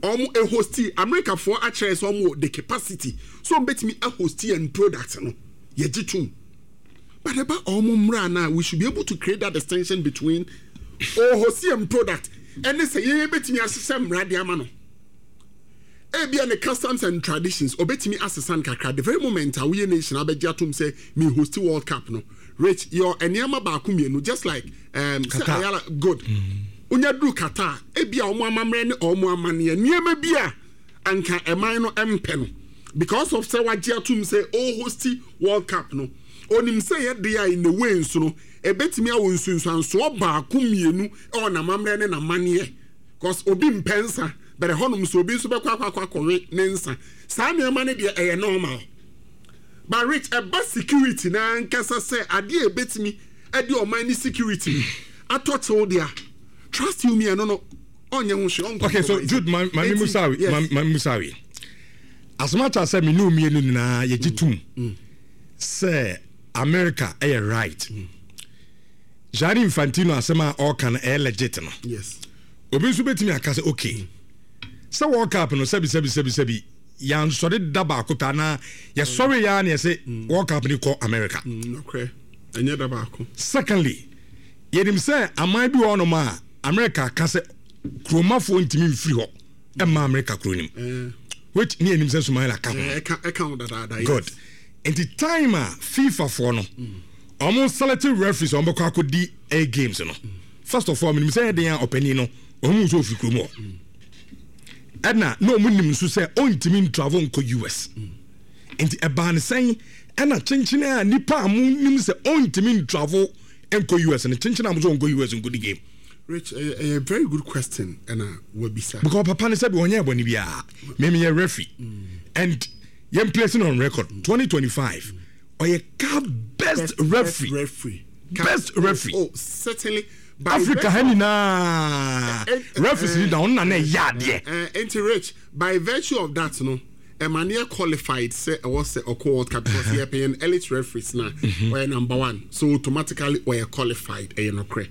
ɔmo ɛhosti, Americafoɔ akyerɛ sɛ ɔmo wɔ the capacity so ɔmo bɛtumi ahosti yɛn product no, yɛgye tom. But ɛba ɔmo mmra na we should be able to create that distinction between ɔhosti yɛn product ɛne sɛ yɛn bɛtumi ahyehyɛ mmara de ama no. Ebia ne customs and traditions ɔbɛtumi asesa no kakra. The very moment a woyɛ nation abɛgye atom sɛ me host World Cup no, Rich, yɛ nneɛma baako mmienu, just like um, sɛ Ayala good wonya duru Qatar, ebia ɔmo amammerɛ ne ɔmo amanneɛ nneɛma bi a anka ɛman no mpɛ no, because of sɛ wagye atom sɛ ɔhosti World Cup no, onim sɛ yɛde a in a way nso no ebetumi awɔ nsunsuansoɔ baako mmienu ɛwɔ n'amammerɛ ne n'amanneɛ, cause obi mpɛ nsa bɛrɛ hɔnom so, obi nso bɛkɔ akɔ akɔ akɔwe ne nsa. Saa nneɛma no deɛ ɛyɛ normal. But Rich, ɛba security na ankasa sɛ adeɛ a ebetumi ɛde ɔman ne security atɔ kyew deɛ, trust you me, ɛno no ɔnyɛ ho hwee. Okay, so Jude, ma ma mi musawi, ma ma mi musawi, as much as sɛ mi nu mmienu nyinaa yɛgye tum sɛ America ɛyɛ right, Gianni Infantino asɛm a ɔka no ɛyɛ legit no, yes obi nso bɛtumi aka sɛ okay, sɛ World Cup no, sɛbi sɛbi sɛbi sɛbi, yansɔre da baako pɛ anaa yɛsɔre ya na yɛsɛ World Cup ni kɔ America. Okay, ɛnyɛ da baako. Secondly, yɛnim sɛ aman bi wɔ hɔnom a America ka sɛ kuromafoɔ ntumi mfiri hɔ ɛma America kuro nim, which ne yɛnim sɛ Somalia ka ho. Ɛka ɛka ho dadaada. Good. Nti time a FIFA foɔ no ɔmo select referees a ɔmo bɛkɔ akɔdi a games no, first of all, menim sɛ ɛden a ɔpanin no ɔmo nso ofiri kurom hɔ, ɛna na ɔmo nim nso sɛ ɔntumi ntravel nkɔ U S. Nti ɛbaa ne sɛn ɛna kyenkyene a nipa a mo nim sɛ ɔntumi ntravel nkɔ U S no, kyenkyene a mo sɛ ɔnkɔ U S nkɔdi game? Rich, ɛyɛ ɛyɛ very good question ɛna wabisa. Because papa ne sɛ bi ɔnyɛ ɛbɔne biara, mɛmi yɛ referee and yɛn placing on record, twenty twenty-five ɔyɛ CAF best referee. Referee. Best referee. Oh, certainly. Africa ha nyinaa referees ni da ɔno na na ɛyɛ adeɛ. Nti Rich, by virtue of that no, ɛma ne yɛ qualified sɛ ɛwɔ sɛ ɔkɔ World Cup, because yɛ pɛ yɛn elite referees na ɔyɛ number one, so automatically ɔyɛ qualified. Ɛyɛ nokorɛ.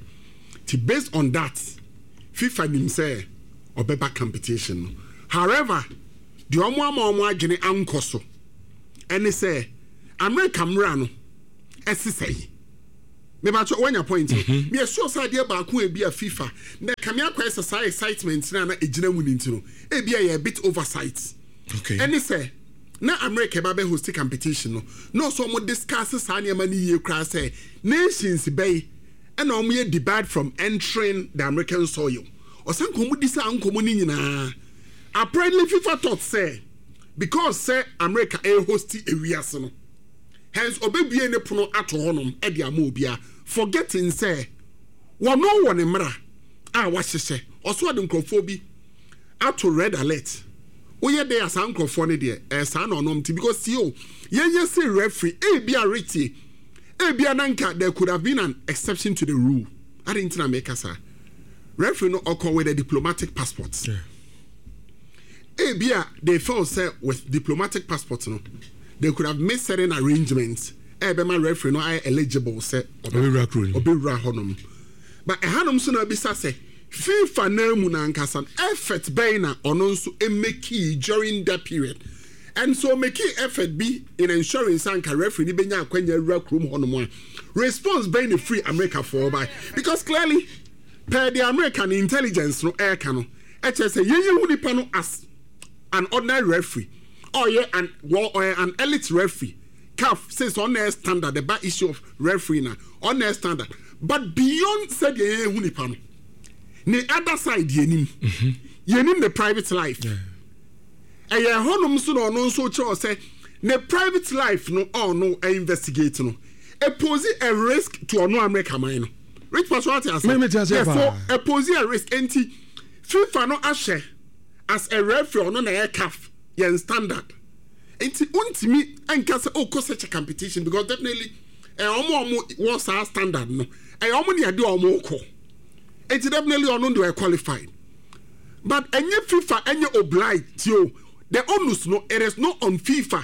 Ti based on that, FIFA nim sɛ ɔbɛba competition no. However, deɛ ɔmo ama ɔmo adwene ankɔ so ɛne sɛ America mmra no ɛsesɛ yi. Mebatɔ wanya point no. Meyɛ sure sɛ adeɛ baako a ebi a FIFA na kame akɔyɛ sɛ saa excitement na na egyina mu ne nti no, ebi a yɛ a bit oversight. Okay. Ɛne sɛ na America ba bɛ host competition no, na ɔsɛ ɔmo discuss saa nneɛma no yie koraa sɛ nations bɛyi ɛna ɔmo yɛ debarred from entering the American soil. Ɔsan nkɔmɔ di saa nkɔmɔ no nyinaa. Apparently FIFA thought sɛ because sɛ America ɛ host ewiase no, hence ɔbɛbue ne pono ato hɔnom ɛde ama obiara, forgetting sɛ wɔno wɔ ne mmara a wahyehyɛ. Ɔso ɔde nkurɔfoɔ bi ato red alert. Woyɛ dɛ a, saa nkurɔfoɔ no deɛ, ɛyɛ saa na ɔnom ti because see o, yɛnyɛ sɛ referee ebi a retie ebi a nanka there could have been an exception to the rule. Adi nti na meka saa, referee no ɔkɔ with a diplomatic passport. Yeah. Ebi a they felt sɛ with diplomatic passport no, they could have made certain arrangements ɛbɛma referee no ayɛ eligible sɛ ɔbɛwura kuro no. Ɔbɛwura hɔnom. But ɛhanom nso na abisa sɛ FIFA nan mu nankasa no, effort bɛn na ɔno nso emake during that period? And so make effort bi in ensuring sɛ anka referee ni bɛnya akwanya awura kurom hɔnom a, response bɛn na firi America foɔ ba? Because clearly per the American intelligence no ɛɛka no, ɛkyerɛ sɛ yɛyɛ hu nipa no as an ordinary referee, ɔyɛ an well, ɔyɛ an elite referee. CAF says ɔno na standard ɛba issue of referee na ɔno standard, but beyond sɛdeɛ yɛyɛ hu nipa no ne other side, yɛnim yɛnim ne private life. Ɛyɛ hɔnom nso na ɔno nso kyerɛw sɛ ne private life no, ɔno investigate no, epose a risk to ɔno America man no. Rich Pastor, ate ase? Me- me te ase Yes, so paa. epose a risk. Nti FIFA no ahyɛ as a referee, ɔno na ɛyɛ CAF yɛn standard, nti ntumi nka sɛ ɔkɔ such a competition because definitely ɛyɛ ɔmo a ɔmo wɔ saa standard no, ɛyɛ ɔmo ne ɛde ɔmo kɔ, nti definitely ɔno de ɔyɛ qualified. But ɛnyɛ FIFA ɛnyɛ obliged o. The onus no, it is not on FIFA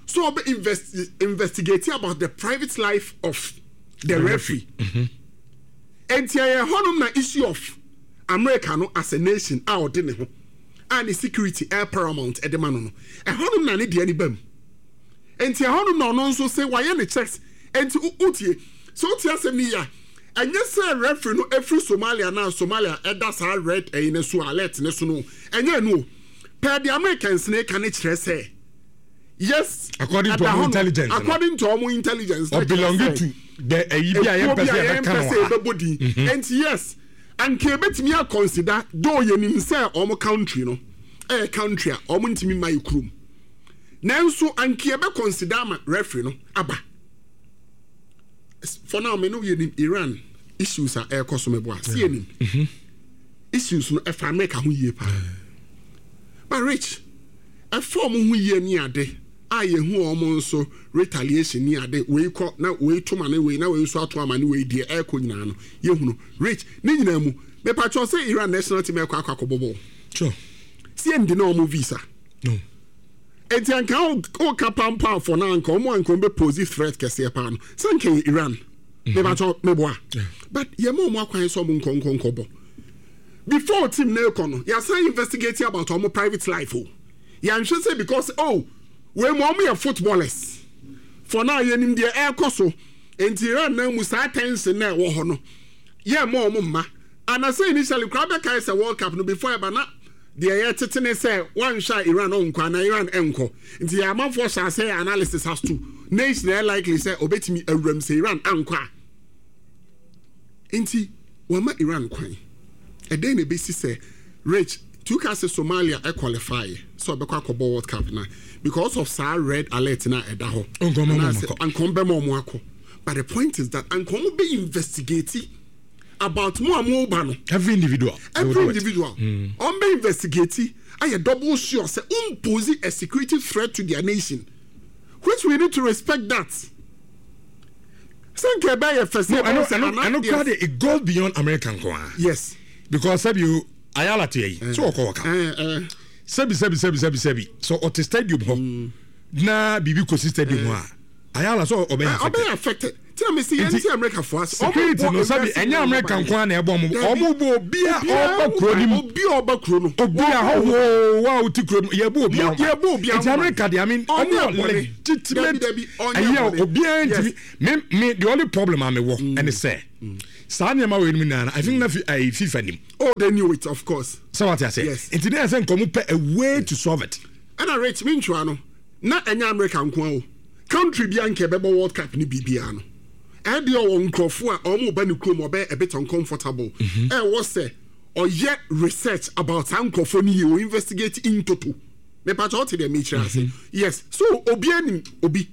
so ɔbɛ invest investigate about the private life of the referee. Nti ɛyɛ hɔnom na issue of America no as a nation a ɔde ne ho a ne security ɛyɛ paramount ɛde ma no no ɛhɔnom na ne deɛ ne ba mu. Nti ɛhɔnom na ɔno nso sɛ wayɛ ne checks. Nti wotie sɛ wotie asɛm no yi a, ɛnyɛ sɛ referee no efiri Somalia na Somalia ɛda saa red ɛyi ne so, alert ne so no, ɛnyɛ no o. Pɛɛ de Americans ne ka ne kyerɛ sɛ yes. According to ɛda ɔmo hɔ no, intelligence no. According to ɔmo intelligence na or kyerɛ belonging sɛ to the ɛyi bi a ekuo yɛmpɛ bi sɛ a yɛbɛka yɛmpɛ no sɛ wɔ ha. yɛbɛbɔ din. Nti yes, anka ebetumi aconsider, though yɛnim sɛ ɔmo country no ɛyɛ country a ɔmo ntumi mma yɛ kurom, nanso anka yɛbɛ consider ama referee no aba. For now, me no, yɛnim Iran issues a ɛrekɔ so. Mɛboa si yɛnim issues no ɛfa America ho yie paa, but Rich, ɛfa ɔmo ho yie ne ade a yɛhu ɔmo nso retaliation ne ade wei kɔ na wei to ma ne wei na wei nso ato ama ne wei deɛ ɛrekɔ nyinaa no, yɛhu no. Rich, ne nyinaa mu mepatwɛ sɛ Iran national team ɛkɔ akɔ akɔbɔ bɔɔl. Sure. Si ɛndi na ɔmo visa. No. Eti anka ɔka pampaafo na anka ɔmo anka ɔmo bɛ pose threat kɛseɛ paa no sɛ anka yɛ Iran. Mepatwɛ, meboa, but yɛma ɔmo akwan sɛ ɔmo nkɔ nkɔ nkɔbɔ. Before team na ekɔ no, yɛasan investigate about ɔmo private life o. Yɛnhwɛ sɛ because oh, wei mu ɔmo yɛ footballers. For now yɛnim deɛ ɛrekɔ so, nti Iran na mu saa tension na ɛwɔ hɔ no, yɛ ma ɔmo mma anasɛ initially koraa bɛkae sɛ World Cup no before ɛba na deɛ yɛtete ne sɛ wanhwɛ a Iran ɔnkɔ ana Iran ɛnkɔ. Nti yɛ amanfoɔ hyɛ ase yɛ analysis as to nation ɛyɛ likely sɛ ɔbɛtumi awuram sɛ Iran ankɔ a. Nti wɔma Iran kwan, ɛdɛn na ebesi sɛ Rich tuka sɛ Somalia ɛqualify sɛ ɔbɛkɔ akɔbɔ World Cup na because of saa red alert na ɛda hɔ, Nkɔmɔ ma anaasɛ ɔmo akɔ. Ankɔm bɛma ɔmo akɔ. But the point is that ankɔm bɛ investigate about mo a mo ba no. Every individual. They will Every do it. Individual ɔn bɛ investigate, ayɛ double sure sɛ impose a security threat to their nation, which we need to respect that. Sɛ nka ɛbɛyɛ fɛ sɛ No, ɛno ɛbɛyɛ sɛ ɛno ana- ɛno yes. kora de, it goes beyond America nko ara. Yes. Because sɛbi o, Ayala te yi so ɔkɔ wɔka. Eh, eh. Sɛbi sɛbi sɛbi sɛbi sɛbi, so ɔte stadium hɔ na biribi kɔsi stadium hɔ a, Ayala so ɔbɛyɛ ɔbɛyɛ affected. Affected. Tí a mi si yɛn ti America fo ase. Security no, sabi, ɛnyɛ America nko ara na ɛbɔ ɔmo. Ɔmo bɔ obi a ɔba kuro ni mu. Obi a ɔba kuro no. Obi a hɔhoɔ wa o ti kuro mu, yɛ bɔ obi a. Yɛ bɔ obi a. Nti America de, I mean, ɔmo wɔ legitimate ɛyɛ, obiara ntumi. Me me the only problem a me wɔ ɛne sɛ saa nneɛma wɔ enum nyinaa, I think na fi ɛyɛ FIFA nim. Oh, they knew it, of course. Sɛ wate ase. Yes. Nti ne yɛ sɛ nkɔmɔ pɛ a way to solve it. Ɛna Rich, mi ntwa no na ɛnyɛ America nko o, country bi a nka ɛbɛbɔ World Cup ne biribiara no, ɛdeɛ ɔwɔ nkurɔfoɔ a ɔmo ba ne kurom, ɔbɛyɛ a bit uncomfortable. Ɛwɔ sɛ ɔyɛ research about saa nkurɔfoɔ no yie, o investigate in toto. Mepakyɛ, ɔte deɛ mekyerɛ ase? Yes. So obi anim obi,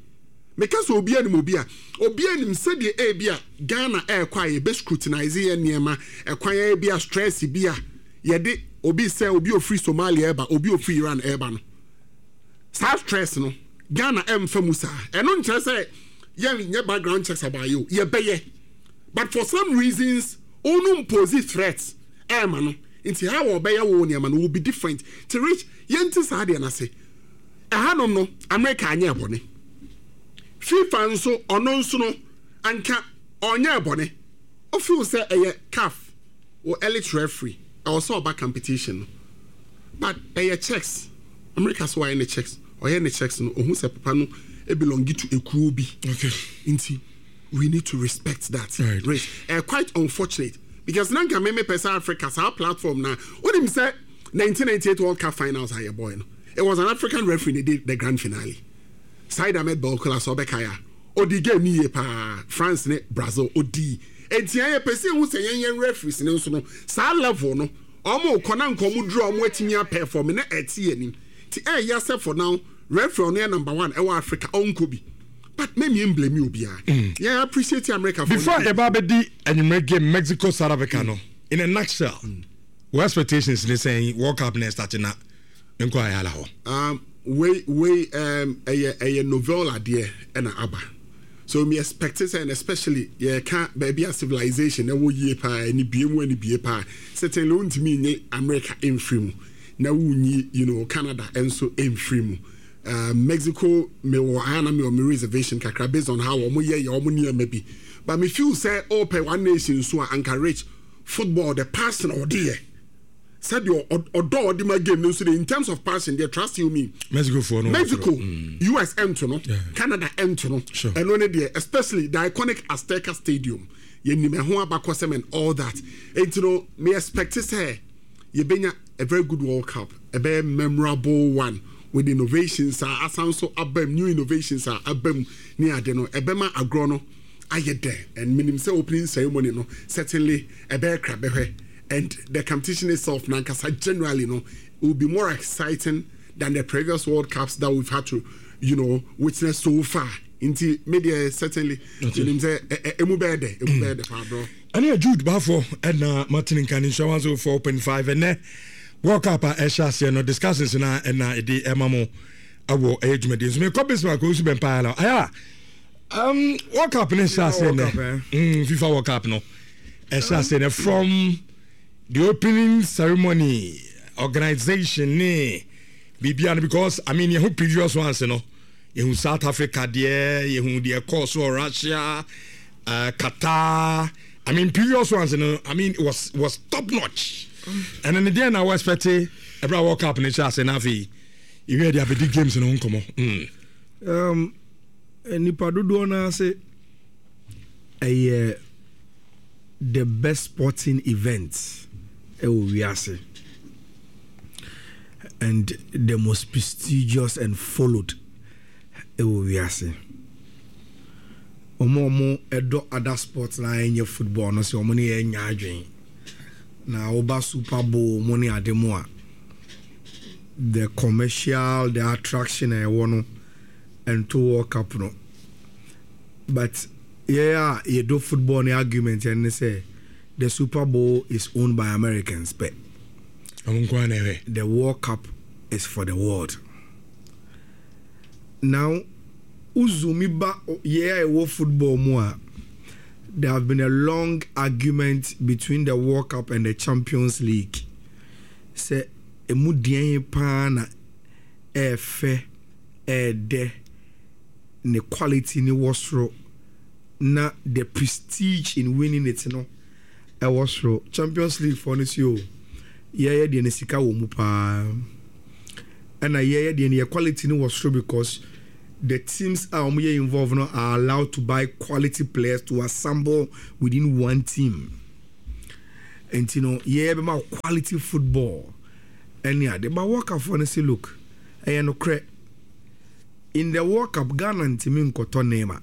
meka sɛ obi anim obi a, obi anim sɛdeɛ ebi a Ghana ɛɛkɔ a yɛbɛ scrutinize yɛ nneɛma, ɛkwan ebi a stress bi a yɛde obi sɛ obi ofiri Somalia ɛba, obi ofiri Iran ɛɛba no, saa stress no Ghana ɛmfa mu saa. Ɛno nkyerɛ sɛ yɛn nyɛ background checks about you, yɛbɛyɛ, but for some reasons ɔno impose threat ɛɛma no, nti how ɔbɛyɛ wo nneɛma no will be different. Ti Rich, yɛn ti saa deɛ n'ase ɛhanom no, America anyɛ ɛbɔne, FIFA nso ɔno nso no anka ɔnyɛ ɛbɔne. Ɔfeel sɛ ɛyɛ CAF wɔ elite referee, ɛwɔ sɛ ɔba competition no, but ɛyɛ checks. America so wayɛ ne checks, ɔyɛ ne checks no, ohun sɛ papa no belong to ekuo bi. Okay. Nti we need to respect that. Right. Right. Uh, quite unfortunate because nanka me me pɛ sɛ Africa saa platform na onim sɛ nineteen ninety-eight World Cup finals ayɛ boy no, it was an African referee ne did the grand finale, Said Ahmed Belkola. Sɛ ɔbɛka ya, odi game ni yie paa, France ne Brazil odi. Eti ayɛ pɛ sɛ ehu sɛ yɛn yɛn referees ne nso no saa level no, ɔmo kɔ na nka ɔmo duru a, ɔmo atumi aperform na ɛte yɛn anim. Ti ɛyɛ sɛ for now referee ɔno yɛ number one ɛwɔ Africa, ɔnkɔ bi, but mɛmi mblame obiara, yɛn appreciate America for Before yɛba abɛdi anwummerɛ game Mexico South Africa no, in a nutshell, wɔ expectations ne sɛn World Cup na ɛstart na nkɔ ayala hɔ? um, wei wei um, ɛyɛ ɛyɛ novel adeɛ ɛna aba, so me expect sɛ, and especially yɛka baabi a civilization ɛwɔ yie paa, ɛni bie mu, ɛni bie paa, certainly wontumi nye America mfiri mu na wonyi you know Canada nso mfiri mu. uh, mexico mewɔ ayɛ na mewɔ me reservation kakra based on how wɔn yɛ yɛ wɔn nneɛma bi, but me feel sɛ ɔpɛ one nation so a, anka Rich, football, the passion a ɔde yɛ, sɛdeɛ ɔdɔ a ɔde ma game no nso de, in terms of passion deɛ, trust you me. Mexico foɔ no. Mexico, U S ɛnto no, Canada ɛnto no. Sure. Ɛno ne deɛ, especially the iconic Azteca Stadium, yɛnim ɛho abakɔsɛm and all that. Enti no me expect sɛ yɛbɛnya a very good World Cup, ɛbɛyɛ memorable one with innovations a asan so aba mu, new innovations a aba mu ne ade no, ɛbɛma agorɔ no ayɛ dɛ. And menim sɛ opening ceremony no certainly ɛbɛyɛ krabɛhwɛ, and the competition itself nankasa generally no will be more exciting than the previous World Cups that we've had to you know witness so far. Nti me deɛ, certainly menim sɛ ɛ- ɛ- emu bɛyɛ dɛ, emu bɛyɛ dɛ paa, bro. Ɛne Jude Baafo ɛna matene nka ne nhyɛ one oh four point five. Ɛnɛ World Cup a ɛhyɛ aseɛ no, discussions na ɛna ɛde ɛma mo awɔ ɛyɛ dwumadie nso. Mekɔ Bismarck ɔsu bɛmpaa la ayɛ a um, World Cup ne hyɛ aseɛ World Cup, nɛ eh? mm, FIFA World Cup no ɛhyɛ aseɛ nɛ, from the opening ceremony, organization ne biribia no, because I mean, yɛho previous ones no, yɛhu South Africa deɛ, yɛhu deɛ ɛkɔɔ so wɔ Russia, uh, Qatar. I mean, previous ones no, I mean, it was was top notch. Ɛno ne deɛ na wɔ expect ɛberɛ a World Cup no hyɛ ase no, afei yɛwie de abɛdi games no ho nkɔmmɔ mm. um, nipa dodoɔ no ase ɛyɛ the best sporting event ɛwɔ wiase and the most prestigious and followed ɛwɔ wiase. Ɔmo a ɔmo ɛdɔ other sports na ɛnyɛ football no sɛ ɔmo ne yɛ nya adwene na woba Super Bowl mo ne ade mu a, the commercial, the attraction a ɛwɔ no ɛnto World Cup no. But yɛ a yɛdɔ football ne argument ɛne sɛ the Super Bowl is owned by Americans pɛ. Ɔmo nko ara na ɛhwɛ. The World Cup is for the world. Now uzumi ba yɛ a ɛwɔ football mu a, there have been a long argument between the World Cup and the Champions League sɛ emu deɛn paa na ɛɛfɛ, ɛɛdɛ, ne quality ne wɔ soro. Na the prestige in winning it no ɛwɔ soro. Champions League foɔ no si o, yɛyɛ deɛ no, sika wɔ mu paa, ɛna yɛyɛ deɛ no, yɛ quality no wɔ soro because the teams a wɔn yɛ involved no are allowed to buy quality players to assemble within one team. Nti no yɛyɛ bɛma quality football ɛne ade. But World Cup foɔ no say, look, ɛyɛ nokorɛ, in the World Cup, Ghana ntumi nkɔtɔ nneɛma.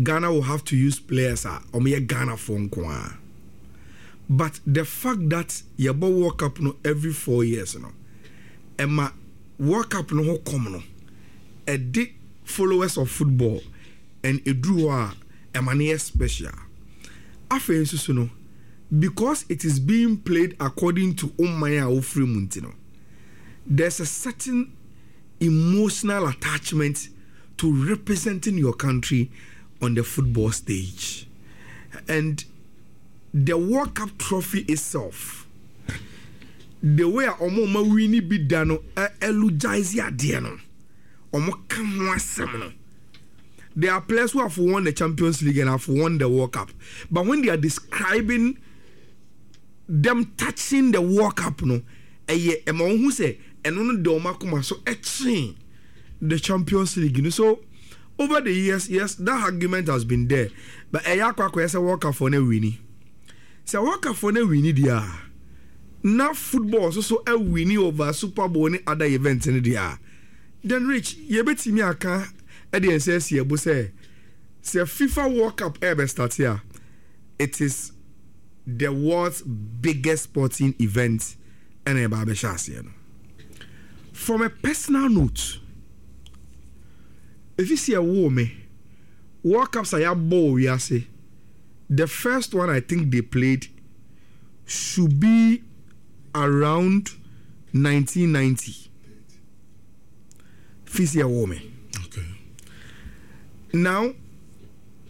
Ghana will have to use players a wɔn yɛ Ghana foɔ nko ara. But the fact that yɛbɔ World Cup no every four years no, ɛma World Cup no ho kɔm no ɛde followers of football and eduru hɔ a, ɛma no yɛ special. Afei nso so no, because it is being played according to ɔman a wofiri mu nti no, there's a certain emotional attachment to representing your country on the football stage. And the World Cup trophy itself, the way a ɔmo ɔmo win bi da no eulogize adeɛ no, ɔmo ka ho asɛm no, there are players who have won the Champions League and have won the World Cup, but when they are describing them touching the World Cup no, ɛyɛ ɛma wɔn ho sɛ ɛno no de wɔn akoma so ɛkyɛn the Champions League no. So over the years, yes, that argument has been there, but ɛyɛ akɔ akɔyɛ sɛ World Cup foɔ no win. Sɛ World Cup foɔ no win deɛ a, na football nso so awin over Super Bowl ne other events no deɛ a, then Rich, yɛbɛtumi aka ɛde nsa asi ɛbo sɛ sɛ FIFA World Cup ɛɛbɛ start a, it is the world's biggest sporting event ɛna ɛba abɛhyɛ aseɛ no. From a personal note, efi si ɛwoo me, World Cups a yɛabɔ wɔ wiase, the first one I think they played should be around nineteen ninety. Fi si ɛwoo me. Okay. Now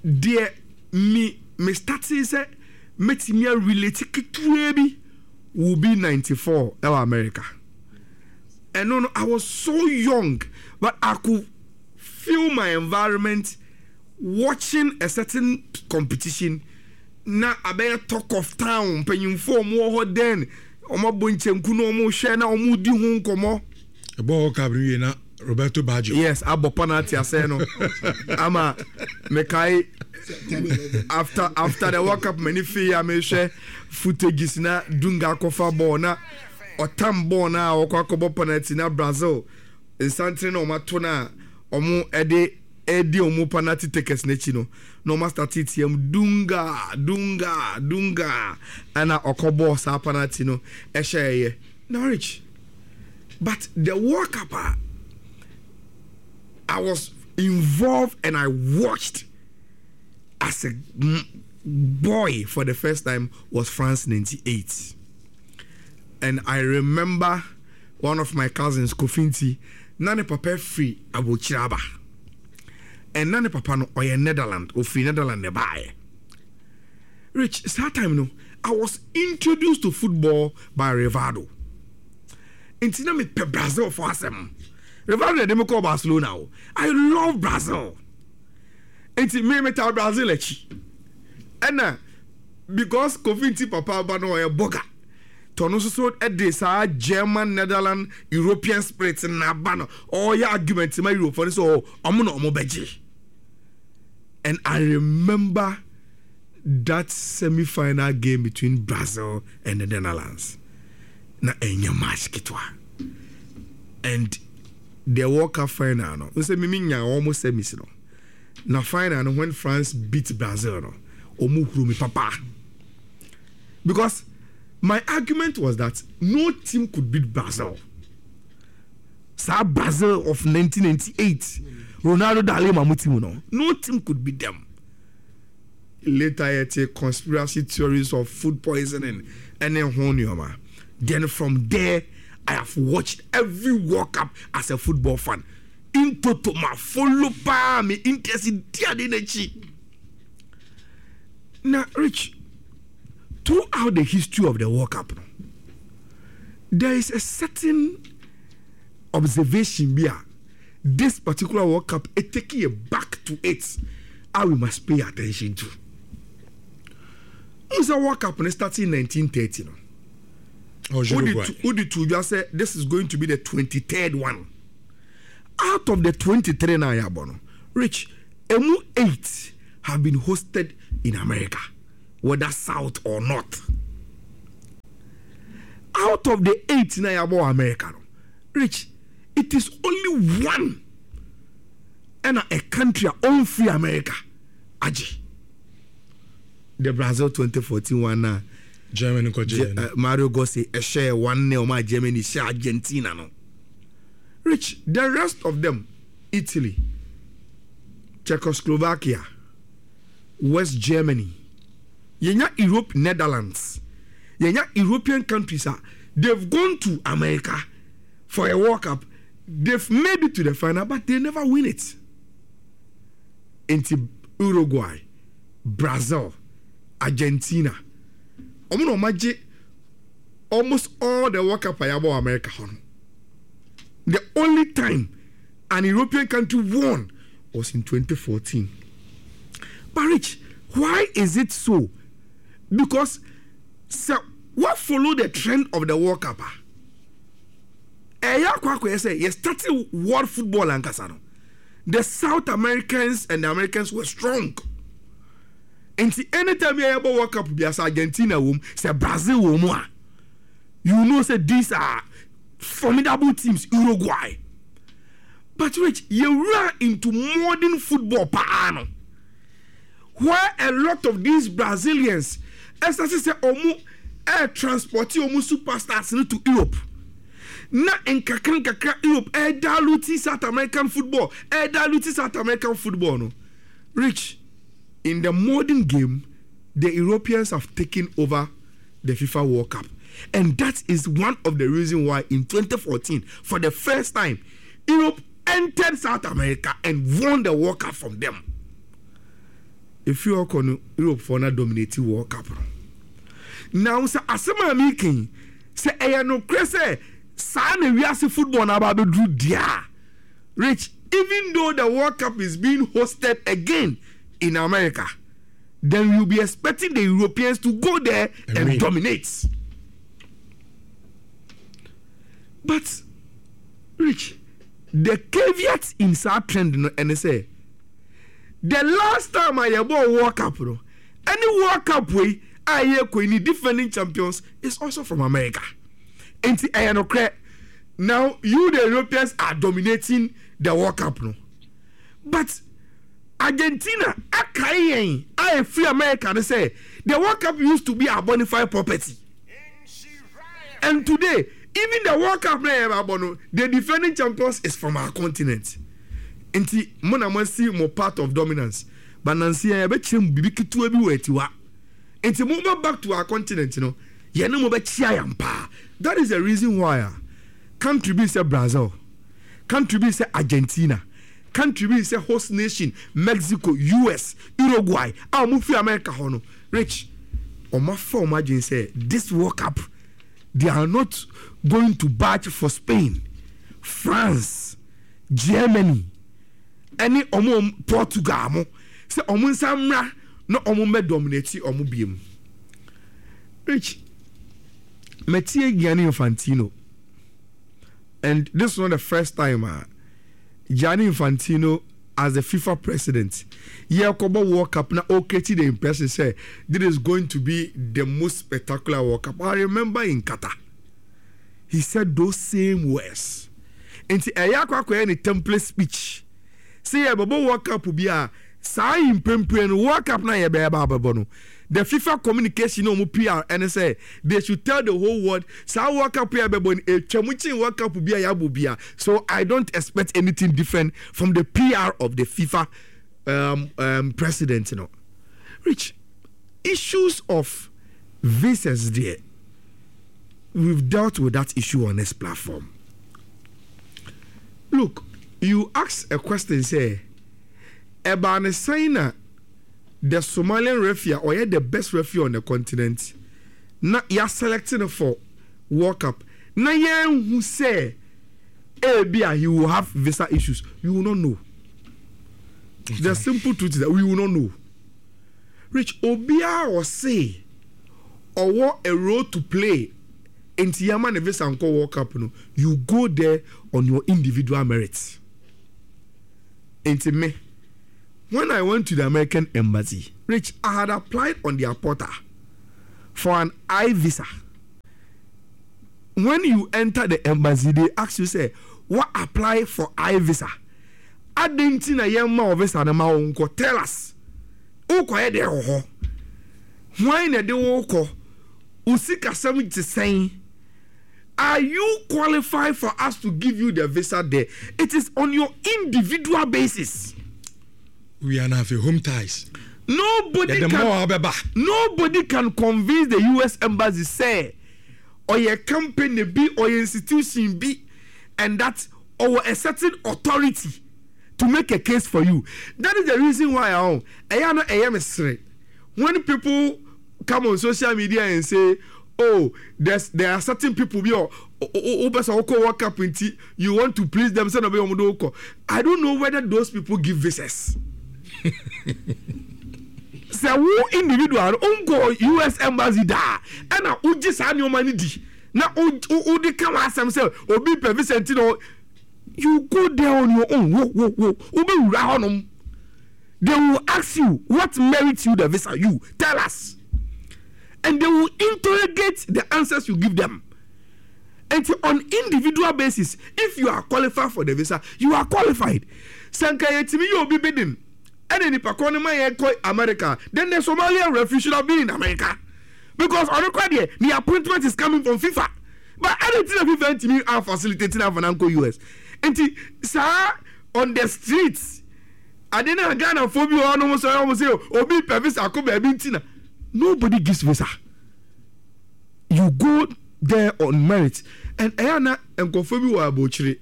deɛ me me starting sɛ mɛtumi arelate ketewa bi will be ninety-four ɛwɔ America. Ɛno no, I was so young, but I could feel my environment watching a certain competition na abɛyɛ talk of town. Mpanyinfoɔ ɔmo wɔ hɔ then, ɔmo abɔ nkyɛnku na ɔmo hwɛ na ɔmo di ho nkɔmɔ. Ɛbɔ World Cup no wie na Roberto Baggio. Yes, abɔ penalty asɛn no ama mekae. after after the World Cup, mani fi a mehwɛ footages na Dunga akɔfa ball na ɔtam ball na ɔkɔ akɔbɔ penalty na Brazil nsantene na ɔmo ato na ɔmo ɛde ɛdi ɔmo penalty takers n'akyi no, na ɔmo astart tiam "Dunga, Dunga, Dunga", ɛna ɔkɔ bɔɔl saa penalty no ɛhyɛ ɛyɛ na Rich. But the World Cup a I was involved and I watched as a boy for the first time was France ninety-eight. And I remember one of my cousins, Kofinti, na ne papa firi aburokyire aba. And na ne papa no ɔyɛ Netherland, ofiri Netherland ne baeɛ. Rich, that time no, I was introduced to football by Rivaldo. Nti na mepɛ Brazil foɔ asɛm. Rivaldo na ɛde me kɔɔ Barcelona o. I love Brazil. Nti me meta Brazil akyi. Ɛna because Kofi nti papa ba no ɔyɛ bɔga. Tɔno nso so ɛde saa German, Netherland, European spirit na aba no, ɔyɛ argument ma Europe no sɛ ɔmo na ɔmo bɛgye. And I remember that semi-final game between Brazil and the Netherlands. Na ɛnyɛ match ketewa. And the World Cup final no, nsɛ mimi nya wɔn semis no. Na final no, when France beat Brazil no, ɔmo huru mi papa. Because my argument was that no team could beat Brazil. Saa Brazil of nineteen ninety-eight, Ronaldo da Lima mu team no, no team could beat them. Later yɛte conspiracy theories of food poisoning ɛne ho nneɛma. Then from there, I have watched every World Cup as a football fan. In toto, ma follow paa, me interest di ade n'akyi. Na Rich, throughout the history of the World Cup no, there is a certain observation bi a this particular World Cup it take you back to it. a we must pay attention to. N sɛ World Cup no starting nineteen thirty no, wodi to dwa sɛ this is going to be the twenty-third one. Out of the twenty-three na yɛabɔ no, Rich, emu eight have been hosted in America, whether south or north. Out of the eight na yɛabɔ wɔ America no, Rich, it is only one ɛna a country a ɔnfiri America agye. The Brazil twenty fourteen one na Germany kɔgye uh, Mario Götze ɛhyɛ one nil ma Germany hyɛ Argentina no. Rich, the rest of them, Italy, Czechoslovakia, West Germany, yɛnya Europe, Netherlands, yɛnya European countries a they've gone to America for a World Cup, they've made it to the final but they never win it. Nti Uruguay, Brazil, Argentina, ɔmo na ɔmo agye almost all the World Cup a yɛabɔ wɔ America hɔ no. The only time an European country won was in twenty fourteen. But Rich, why is it so? Because sɛ what follow the trend of the World Cup a ɛyɛ akɔ akɔyɛ sɛ yɛ starting world football ankasa no, the South Americans and the Americans were strong. Nti anytime yɛ yɛbɔ World Cup bi asa Argentina wɔ mu, sɛ Brazil wɔ mu a, you know say these are formidable teams, Uruguay. But Rich, yɛwura into modern football paa no, where a lot of these Brazilians ɛsɛ sɛ ɔmo ɛɛ transport ɔmo superstars no to Europe. Na nkakra nkakra Europe ɛɛ dilute South American football, ɛɛ dilute South American football no. Rich, in the modern game, the Europeans have taken over the FIFA World Cup. And that is one of the reasons why in twenty fourteen, for the first time, Europe entered South America and won the World Cup from them. If you are going Europe for not dominating World Cup. Now, sɛ asɛm a meka sɛ ɛyɛ nokorɛ sɛ saa na wiase football na aba abɛduru deɛ. Rich, even though the World Cup is being hosted again in America, then you'll be expecting the Europeans to go there and, and dominate. But, Rich, the caveat in that trend, no, and they say, the last time I bought World Cup, no, any World Cup way, I hear defending champions is also from America. And I no credit. Now, you, the Europeans, are dominating the World Cup, no. But Argentina, I I free America, they say the World Cup used to be a bona fide property. And today, even the World Cup, the defending champions is from our continent. Nti mo na mo see more part of dominance. But Nancy, I bet you bibi ketewa bi wɔ atiwa. Nti mo ba back to our continent, you know. Yɛne mo bɛkyia yɛn paa. That is the reason why uh, country bi sɛ Brazil, country bi sɛ Argentina, country bi sɛ host nation Mexico, U S, Uruguay, a wɔn fi America hɔ no, Rich, wɔn afa wɔn adwene sɛ this World Cup, they are not going to batch for Spain, France, Germany, ɛne wɔn Portugal mo sɛ wɔn nsa mmra na wɔn bɛ dominate wɔn biem. Rich, metie Gianni Infantino, and this is not the first time uh, Gianni Infantino as the FIFA president, yɛkɔbɔ World Cup na o create the impression say this is going to be the most spectacular World Cup. I remember in Qatar, he said those same words. Nti ɛyɛ akɔ akɔyɛ ne template speech. Say yɛbɛbɔ World Cup bi a saa mprempren no World Cup na yɛbɛyɛ ba abɛbɔ no. The FIFA communication no P R and say they should tell the whole world saa World Cup yɛbɛbɔ no etwa mu kyin World Cup bi a yɛabɔ bi a. So I don't expect anything different from the P R of the FIFA, um, um, president. You know, Rich, issues of visas there, we've dealt with that issue on this platform. Look, you ask a question, say, Ebane Saina, the Somalian referee or the best referee on the continent, na ya selecting for World Cup. Na yen who say, eh, be he will have visa issues. You will not know. The simple truth is that we will not know. Rich, obiara ɔse ɔwɔ a role to play nti yama ne visa nkɔ World Cup no, you go there on your individual merits. Nti me, when I went to the American embassy, Rich, I had applied on their portal for an I visa. When you enter the embassy, they ask you say, "What apply for I visa?" Adɛn nti na yɛn ma wo visa no ma wo nkɔ? Tell us. Wokɔyɛ deɛ wɔ hɔ. Hwan na ɛde wo kɔ? Wo sikasɛm te sɛn? Are you qualified for us to give you the visa there? It is on your individual basis. We are now home ties. Nobody Yɛde can mmoa bɛba. Nobody can convince the U S embassy say or your company be or your institution be and that or a certain authority to make a case for you. That is the reason why I own. When people come on social media and say, "Oh, there's there are certain people be or World Cup nti you want to please them," say no be omo do. I don't know whether those people give visas. Sɛ wo individual nkɔ U S embassy daa ɛna wogye saa nneɛma no di na wode ka w'asɛm sɛ obi pɛ visa nti na you go there on your own, wo wo wo wobɛwura hɔnom, they will ask you what merits you the visa. You tell us and they will interrogate the answers you give them. And on individual basis, if you are qualified for the visa, you are qualified. Sɛ nka yɛtumi yɛ obi bidding ɛna nipa kɔ ne ma yɛ kɔ America, then the Somalian referee should have been in America, because ɔno kɔ deɛ, the appointment is coming from FIFA. But ɛna ti na FIFA ntumi a facilitate na afa na nkɔ U S. Nti saa on the streets ade na Ghana fo bi wɔ hɔnom sɛ ɔmo sɛ obi pɛ visa akɔ baabi nti na nobody gives visa. You go there on merit. And ɛyɛ na nkɔfo bi wɔ abɔkyire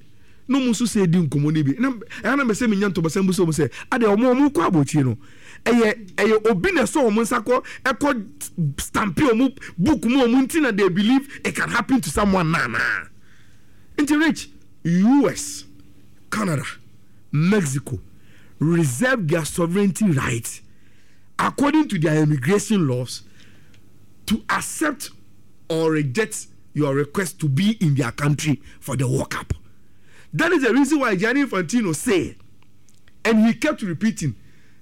na ɔmo nso sɛ edi nkɔmɔ no bi na ɛyɛ na mɛsɛ mi nya ntɔbɔsɛm bi sɛ ɔmo sɛ ade ɔmo ɔmo kɔ abɔkyire no, ɛyɛ ɛyɛ obi na ɛsɔ ɔmo nsa kɔ ɛkɔ stamp ɔmo book mu ɔmo nti na they believe it can happen to someone. Na na nti Rich, U S, Canada, Mexico reserve their sovereignty right according to their immigration laws to accept or reject your request to be in their country for the World Cup. That is the reason why Gianni Infantino say, and he kept repeating,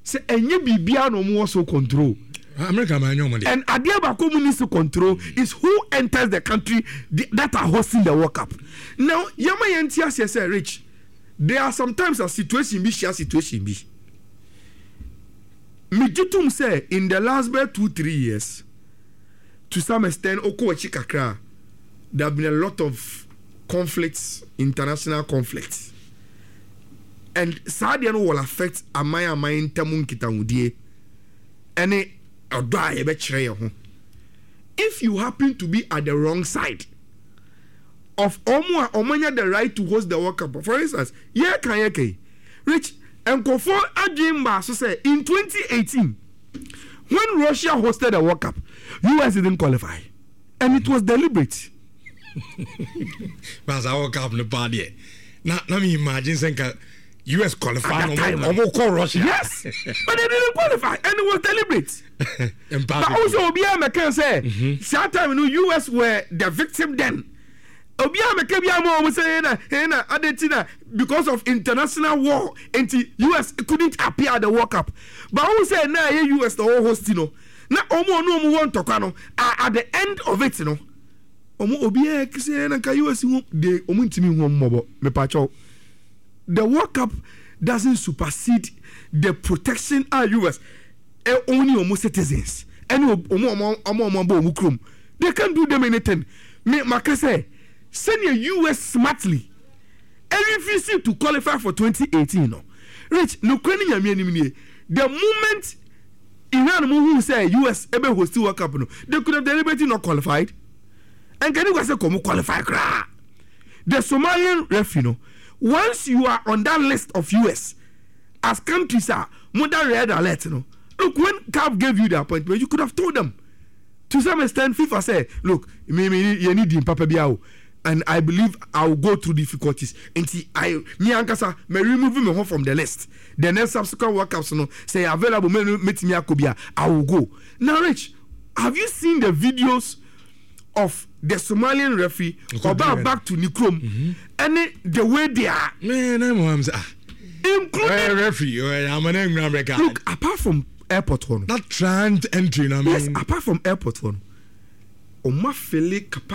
say ɛnyɛ biribiara na ɔmo wɔ so control. America ma nyɛ ɔmo de. And adeɛ baako mu needs to control is who enters the country that are hosting the World Cup. Now yɛma yɛn ti aseɛ sɛ, Rich, there are sometimes a situation bi hyia situation bi. Megye tom sɛ in the last bɛ two three years, to some extent, okɔ akyi kakra, there have been a lot of conflicts, international conflicts, and saa deɛ no will affect aman aman ntam nkitahodie ɛne ɔdɔ a yɛbɛkyerɛ yɛn ho. If you happen to be at the wrong side of ɔmo a ɔmo anya the right to host the World Cup, for instance, yɛ kan yɛ kan, Rich, nkɔfo adwene mbaa so sɛ in twenty eighteen, when Russia hosted the World Cup, U S didn't qualify, and it was deliberate. Baasa World Cup no paa deɛ, na na mi imagine sɛ nka U S qualify na ɔmo kɔ Russia. Yes, but they didn't qualify and it was deliberate. But also obiara mɛka sɛ saa time no U S were the victim then. Obiara mɛka bi ama wɔn sɛ ɛna ɛna ade na because of international war nti U S couldn't appear at the World Cup. But wɔn sɛ na ɛyɛ U S na wɔn host no na wɔn a wɔn wɔ ntɔkwa no at the end of it no, wɔn obiara sɛ ɛna nka U S ho de wɔn ntumi hu wɔn mmɔbɔ. Mepakyɛw, the World Cup doesn't supersede the protection a U S only wɔn citizens ɛne wɔn wɔn wɔn wɔn abɔ wɔn kurom. They can't do them anything. Me maka sɛ sɛnea U S smartly refuse to qualify for twenty eighteen no, Rich, nukuri ni Nyame anim nie, the moment Iran mu hu sɛ U S ebe host World Cup no, they could have deliberately not qualified. Nkani kwa sɛ kɔn qualify koraa. The Somalian referee no, once you are on that list of U S as countries a mo da red alert no, look, when CAF gave you the appointment, you could have told them. To some extent, FIFA say, "Look, me me yɛ ni di papa bi awo And I believe I will go through difficulties. Nti I me ankasa me remove me ho from the list. The next subsequent World Cups no, sɛ available me metumi akɔ bi a, I will go. Now, Rich, have you seen the videos of the Somalian referee ɔba back to ne kurom ɛne the way they are Man, I'm I'm ah including Referee I'm an America. Look, apart from airport hɔ no, that trans entry na yes, apart from airport hɔ no, ɔmo afill